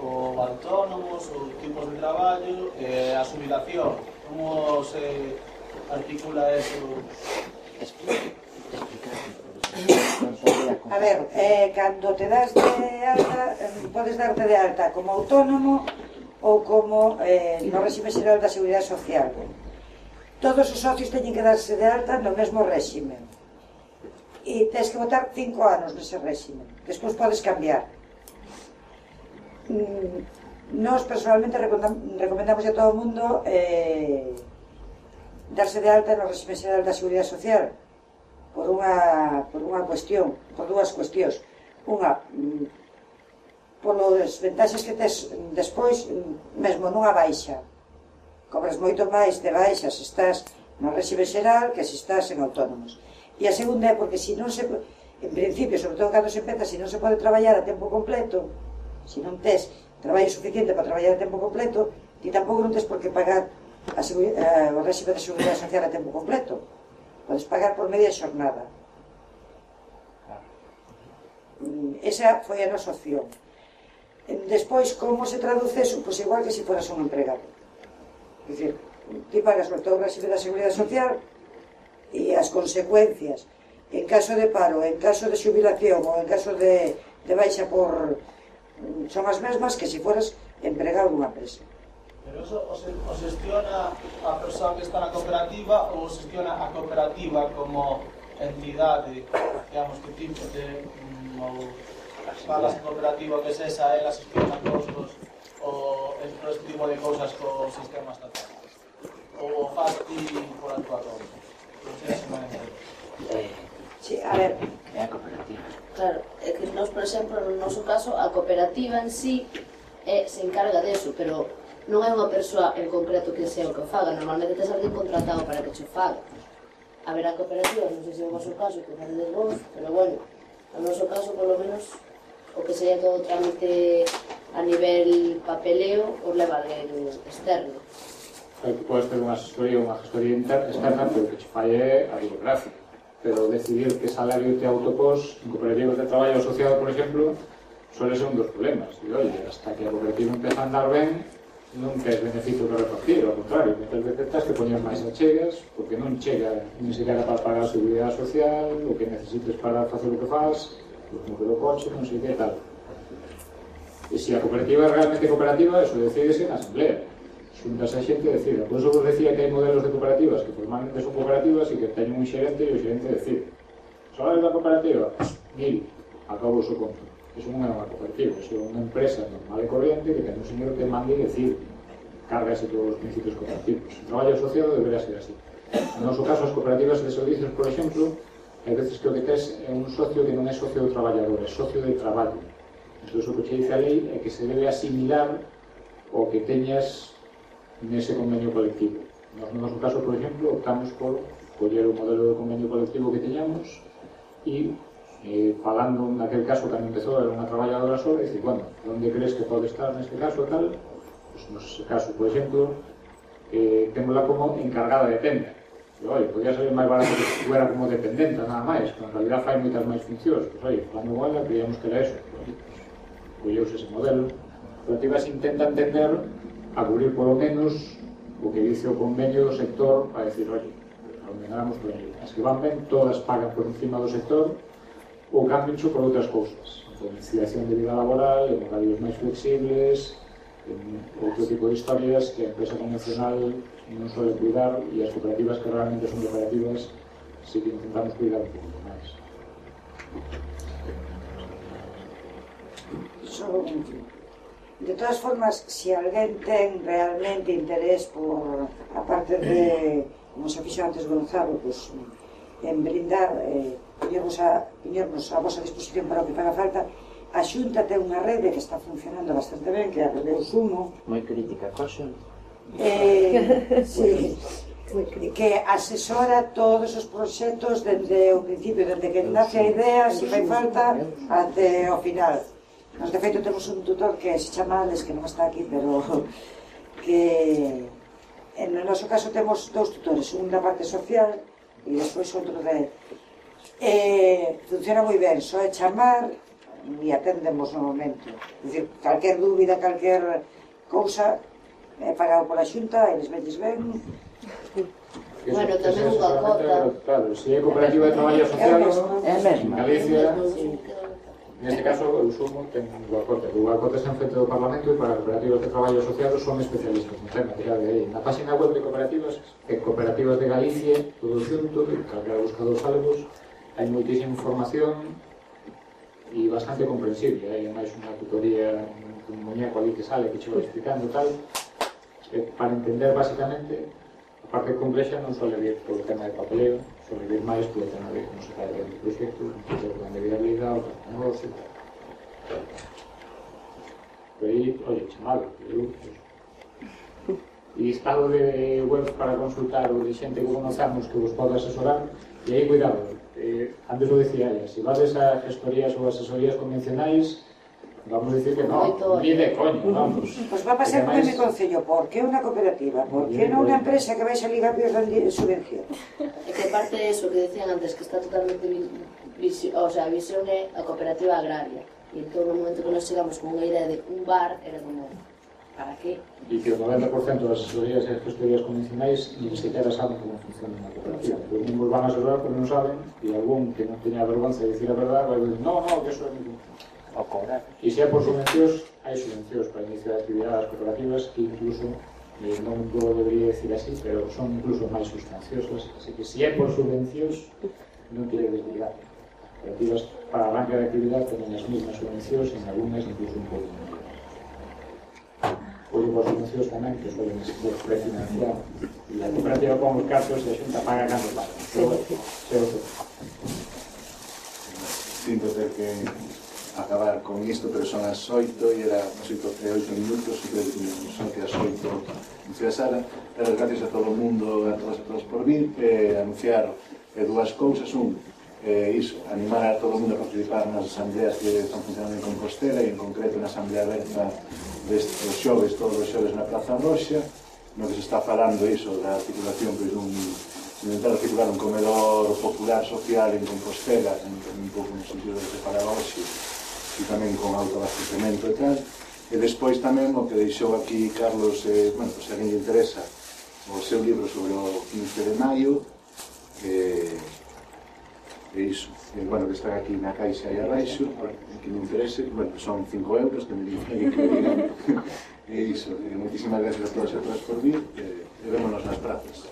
o autónomos, os tipos de traballo, a xubilación. Como se articula eso? A ver, cando te das de alta, podes darte de alta como autónomo ou como no réxime xeral da Seguridade Social. Todos os socios teñen que darse de alta no mesmo réxime. E tens que votar 5 anos nese réxime. Despois podes cambiar. Nós personalmente recomendamos a todo o mundo darse de alta no réxime xeral da Seguridade Social por unha cuestión, por dúas cuestións. Unha, polas ventaxas que tes despois, mesmo nunha baixa. Cobras moito máis de baixa se estás no réxime xeral que se estás en autónomos. E a segunda é porque se non se, en principio, sobre todo cando se empeza, se non se pode traballar a tempo completo, se non tes traballo suficiente para traballar a tempo completo, ti tampouco non tes por que pagar o réxime de seguridade social a tempo completo. Podes pagar por media xornada. Esa foi a nosa opción. Despois, como se traduce eso? Pois igual que se foras un empregado. É dicir, ti pagas o teu réxime da Seguridade Social e as consecuencias en caso de paro, en caso de xubilación ou en caso de baixa por... son as mesmas que se foras empregado dunha empresa. Pero eso o xestiona a persoa que está na cooperativa ou xestiona a cooperativa como entidade, digamos, que tipo de... falas en cooperativa que es esa, ela xestiona costos ou este tipo de cousas co sistema estatal, ou faz ti por a tua conta. Non sei se me entendo. Sí, a ver, é a cooperativa. Claro, é que nós, por exemplo, no noso caso, a cooperativa en sí se encarga deso, pero non é unha persoa en concreto que sea o que o faga. Normalmente tes alguén contratado para que che faga. Haberá cooperativas, non sei se é o vosso caso, que facedes vos, pero bueno, no noso caso, polo menos, o que sería todo o trámite a nivel papeleo o leva alguén externo. Que podes ter unha gestoría externa, pero o que che fai é a burocracia. Pero decidir que salario te autopós en cooperativas de traballo asociado, por exemplo, suele ser un dos problemas. E, oye, hasta que a cooperativa empeza a andar ben, non tes beneficio que repartir, ao contrario, moitas veces tens que poñer máis achegas, porque non chega ni siquiera para pagar a seguridade social, o que necesites para facer o que faz, como que do coche, non sei que tal. E se a cooperativa é realmente cooperativa, eso decídese na asamblea. Xuntas a xente decida. Por eso vos decía que hai modelos de cooperativas que formalmente son cooperativas e que teñen un xerente e o xerente decide. Salario da cooperativa? 1000. Acabo o conto. Eso non é unha cooperativa, eso é unha empresa normal e corriente que ten un señor que manda e decide. Cárgase todos os principios cooperativos. O traballo asociado debería ser así. No noso caso, as cooperativas de servicios, por exemplo, hai veces que o que tes é un socio que non é socio do traballador, é socio de traballo. Entón, o que che dice a lei é que se debe asimilar o que teñas nese convenio colectivo. No noso caso, por exemplo, optamos por coller o modelo de convenio colectivo que teñamos e falando naquel caso cando empezou era unha traballadora sola e dicir, bueno, onde crees que pode estar neste caso tal? Pues, nese caso, por exemplo, témola como encargada de tenda. Oi, podía ser máis barato que fuera como dependenta, nada máis, pero en realidad fai moitas máis funcións. Pois, oi, falando con ela, creíamos que era eso. Colleuse ese modelo. As cooperativas intentan tender a cubrir polo menos o que dice o convenio do sector para decir, oi, aumentamos por aí. As que van ben, todas pagan por encima do sector ou cambiancho por outras cousas. Conciliación de vida laboral, en horarios máis flexibles, outro tipo de historias que a empresa convencional non suele cuidar e as cooperativas que realmente son cooperativas sí que intentamos cuidar un pouco máis. De todas formas, se alguén ten realmente interés por a parte de, como se fixo antes Gonzalo, pues, en brindar, poñernos a vosa disposición para o que faga falta, a Xunta ten unha rede que está funcionando bastante ben, que é a rede Usumo. Moi crítica, coxo. Sí, que asesora todos os proxectos desde o principio, desde que nace a idea, se fai falta, até o final. Nos, de feito, temos un tutor que se chama Alex, que non está aquí, pero que en o noso caso temos dous tutores, un da parte social e despois outro de... funciona moi ben, só é chamar e atendemos no momento. É dicir, calquer dúbida, calquer cousa é pagado pola Xunta, eles velles ben. Bueno, tamén unha cota. Claro, se é cooperativa de traballo asociado en Galicia, neste caso o Usumo ten unha cota. A cota está en frente do Parlamento e para cooperativas de traballo asociado son especialistas no tema. Na página web de cooperativas, Cooperativas de Galicia, todo xunto, calquera buscador salvos, hai moitísima información e bastante comprensible. Hai máis unha tutoría, un muñeco ali que sale, que che vai explicando tal, para entender basicamente a parte complexa non suele vir polo tema de papeleo, suele vir máis polo tema de como se fai o proxecto, o plan de viabilidade, o plan de negocio, pero aí, oye, chamado, e estado de web para consultar o de xente que conozamos que vos pode asesorar, e aí, cuidado, antes lo decía ella, se vades a gestorías ou asesorías convencionais, vamos a decir que no, ni de coño, vamos. Pois va a pasar con mi concello, por que unha cooperativa? Por que non unha empresa que vai salir a pios de subvención? É que parte de eso que decían antes, que está totalmente o sea, a visión é a cooperativa agraria, e en todo o momento que nos chegamos con unha idea de un bar, era como, para qué? E que o 90% das asesorías e gestorías convencionais ni siquiera saben como funciona unha cooperativa. Os mismos van a asesorar, pero non saben, e algún que non teña vergonza de dicir a verdade vai dicir, no, que eso é mi... O cobrar. E se é por subvencións, hai subvencións para iniciar actividades cooperativas que incluso, non lo debería decir así, pero son incluso máis sustanciosas, así que se é por subvencións, non tiene desligar. Cooperativas para arranque de actividade teñen as mesmas subvencións, en algunhas incluso un pouco máis. Oye, por subvencións tamén, que suelen ser prefinanciar, e a cooperativa pon os cartos e a Xunta paga cando paga. Pero, é outro. Sinto ter que acabar con isto, pero son as 8 e era as 8 minutos e creo que son que as 8 anunciar a sala. Pero gracias a todo o mundo, a todas por vir, anunciar dúas cousas. Iso, animar a todo o mundo a participar nas asambleas que están funcionando en Compostela e en concreto na asamblea aberta destes xoves, todos os xoves na Praza Roxa, no que se está falando iso da articulación, pois intentar articular un comedor popular social en Compostela, un pouco no sentido de separar hoxe, e tamén con autoabastecemento e tal, E despois tamén o que deixou aquí Carlos, bueno, se a alguén lle interesa o seu libro sobre o 15 de maio, e iso, bueno, que está aquí na caixa aí abaixo, que me interese, bueno, son 5 euros, que me digan, e iso, moitísimas gracias a todos e a todas por vir, e vémonos nas prazas.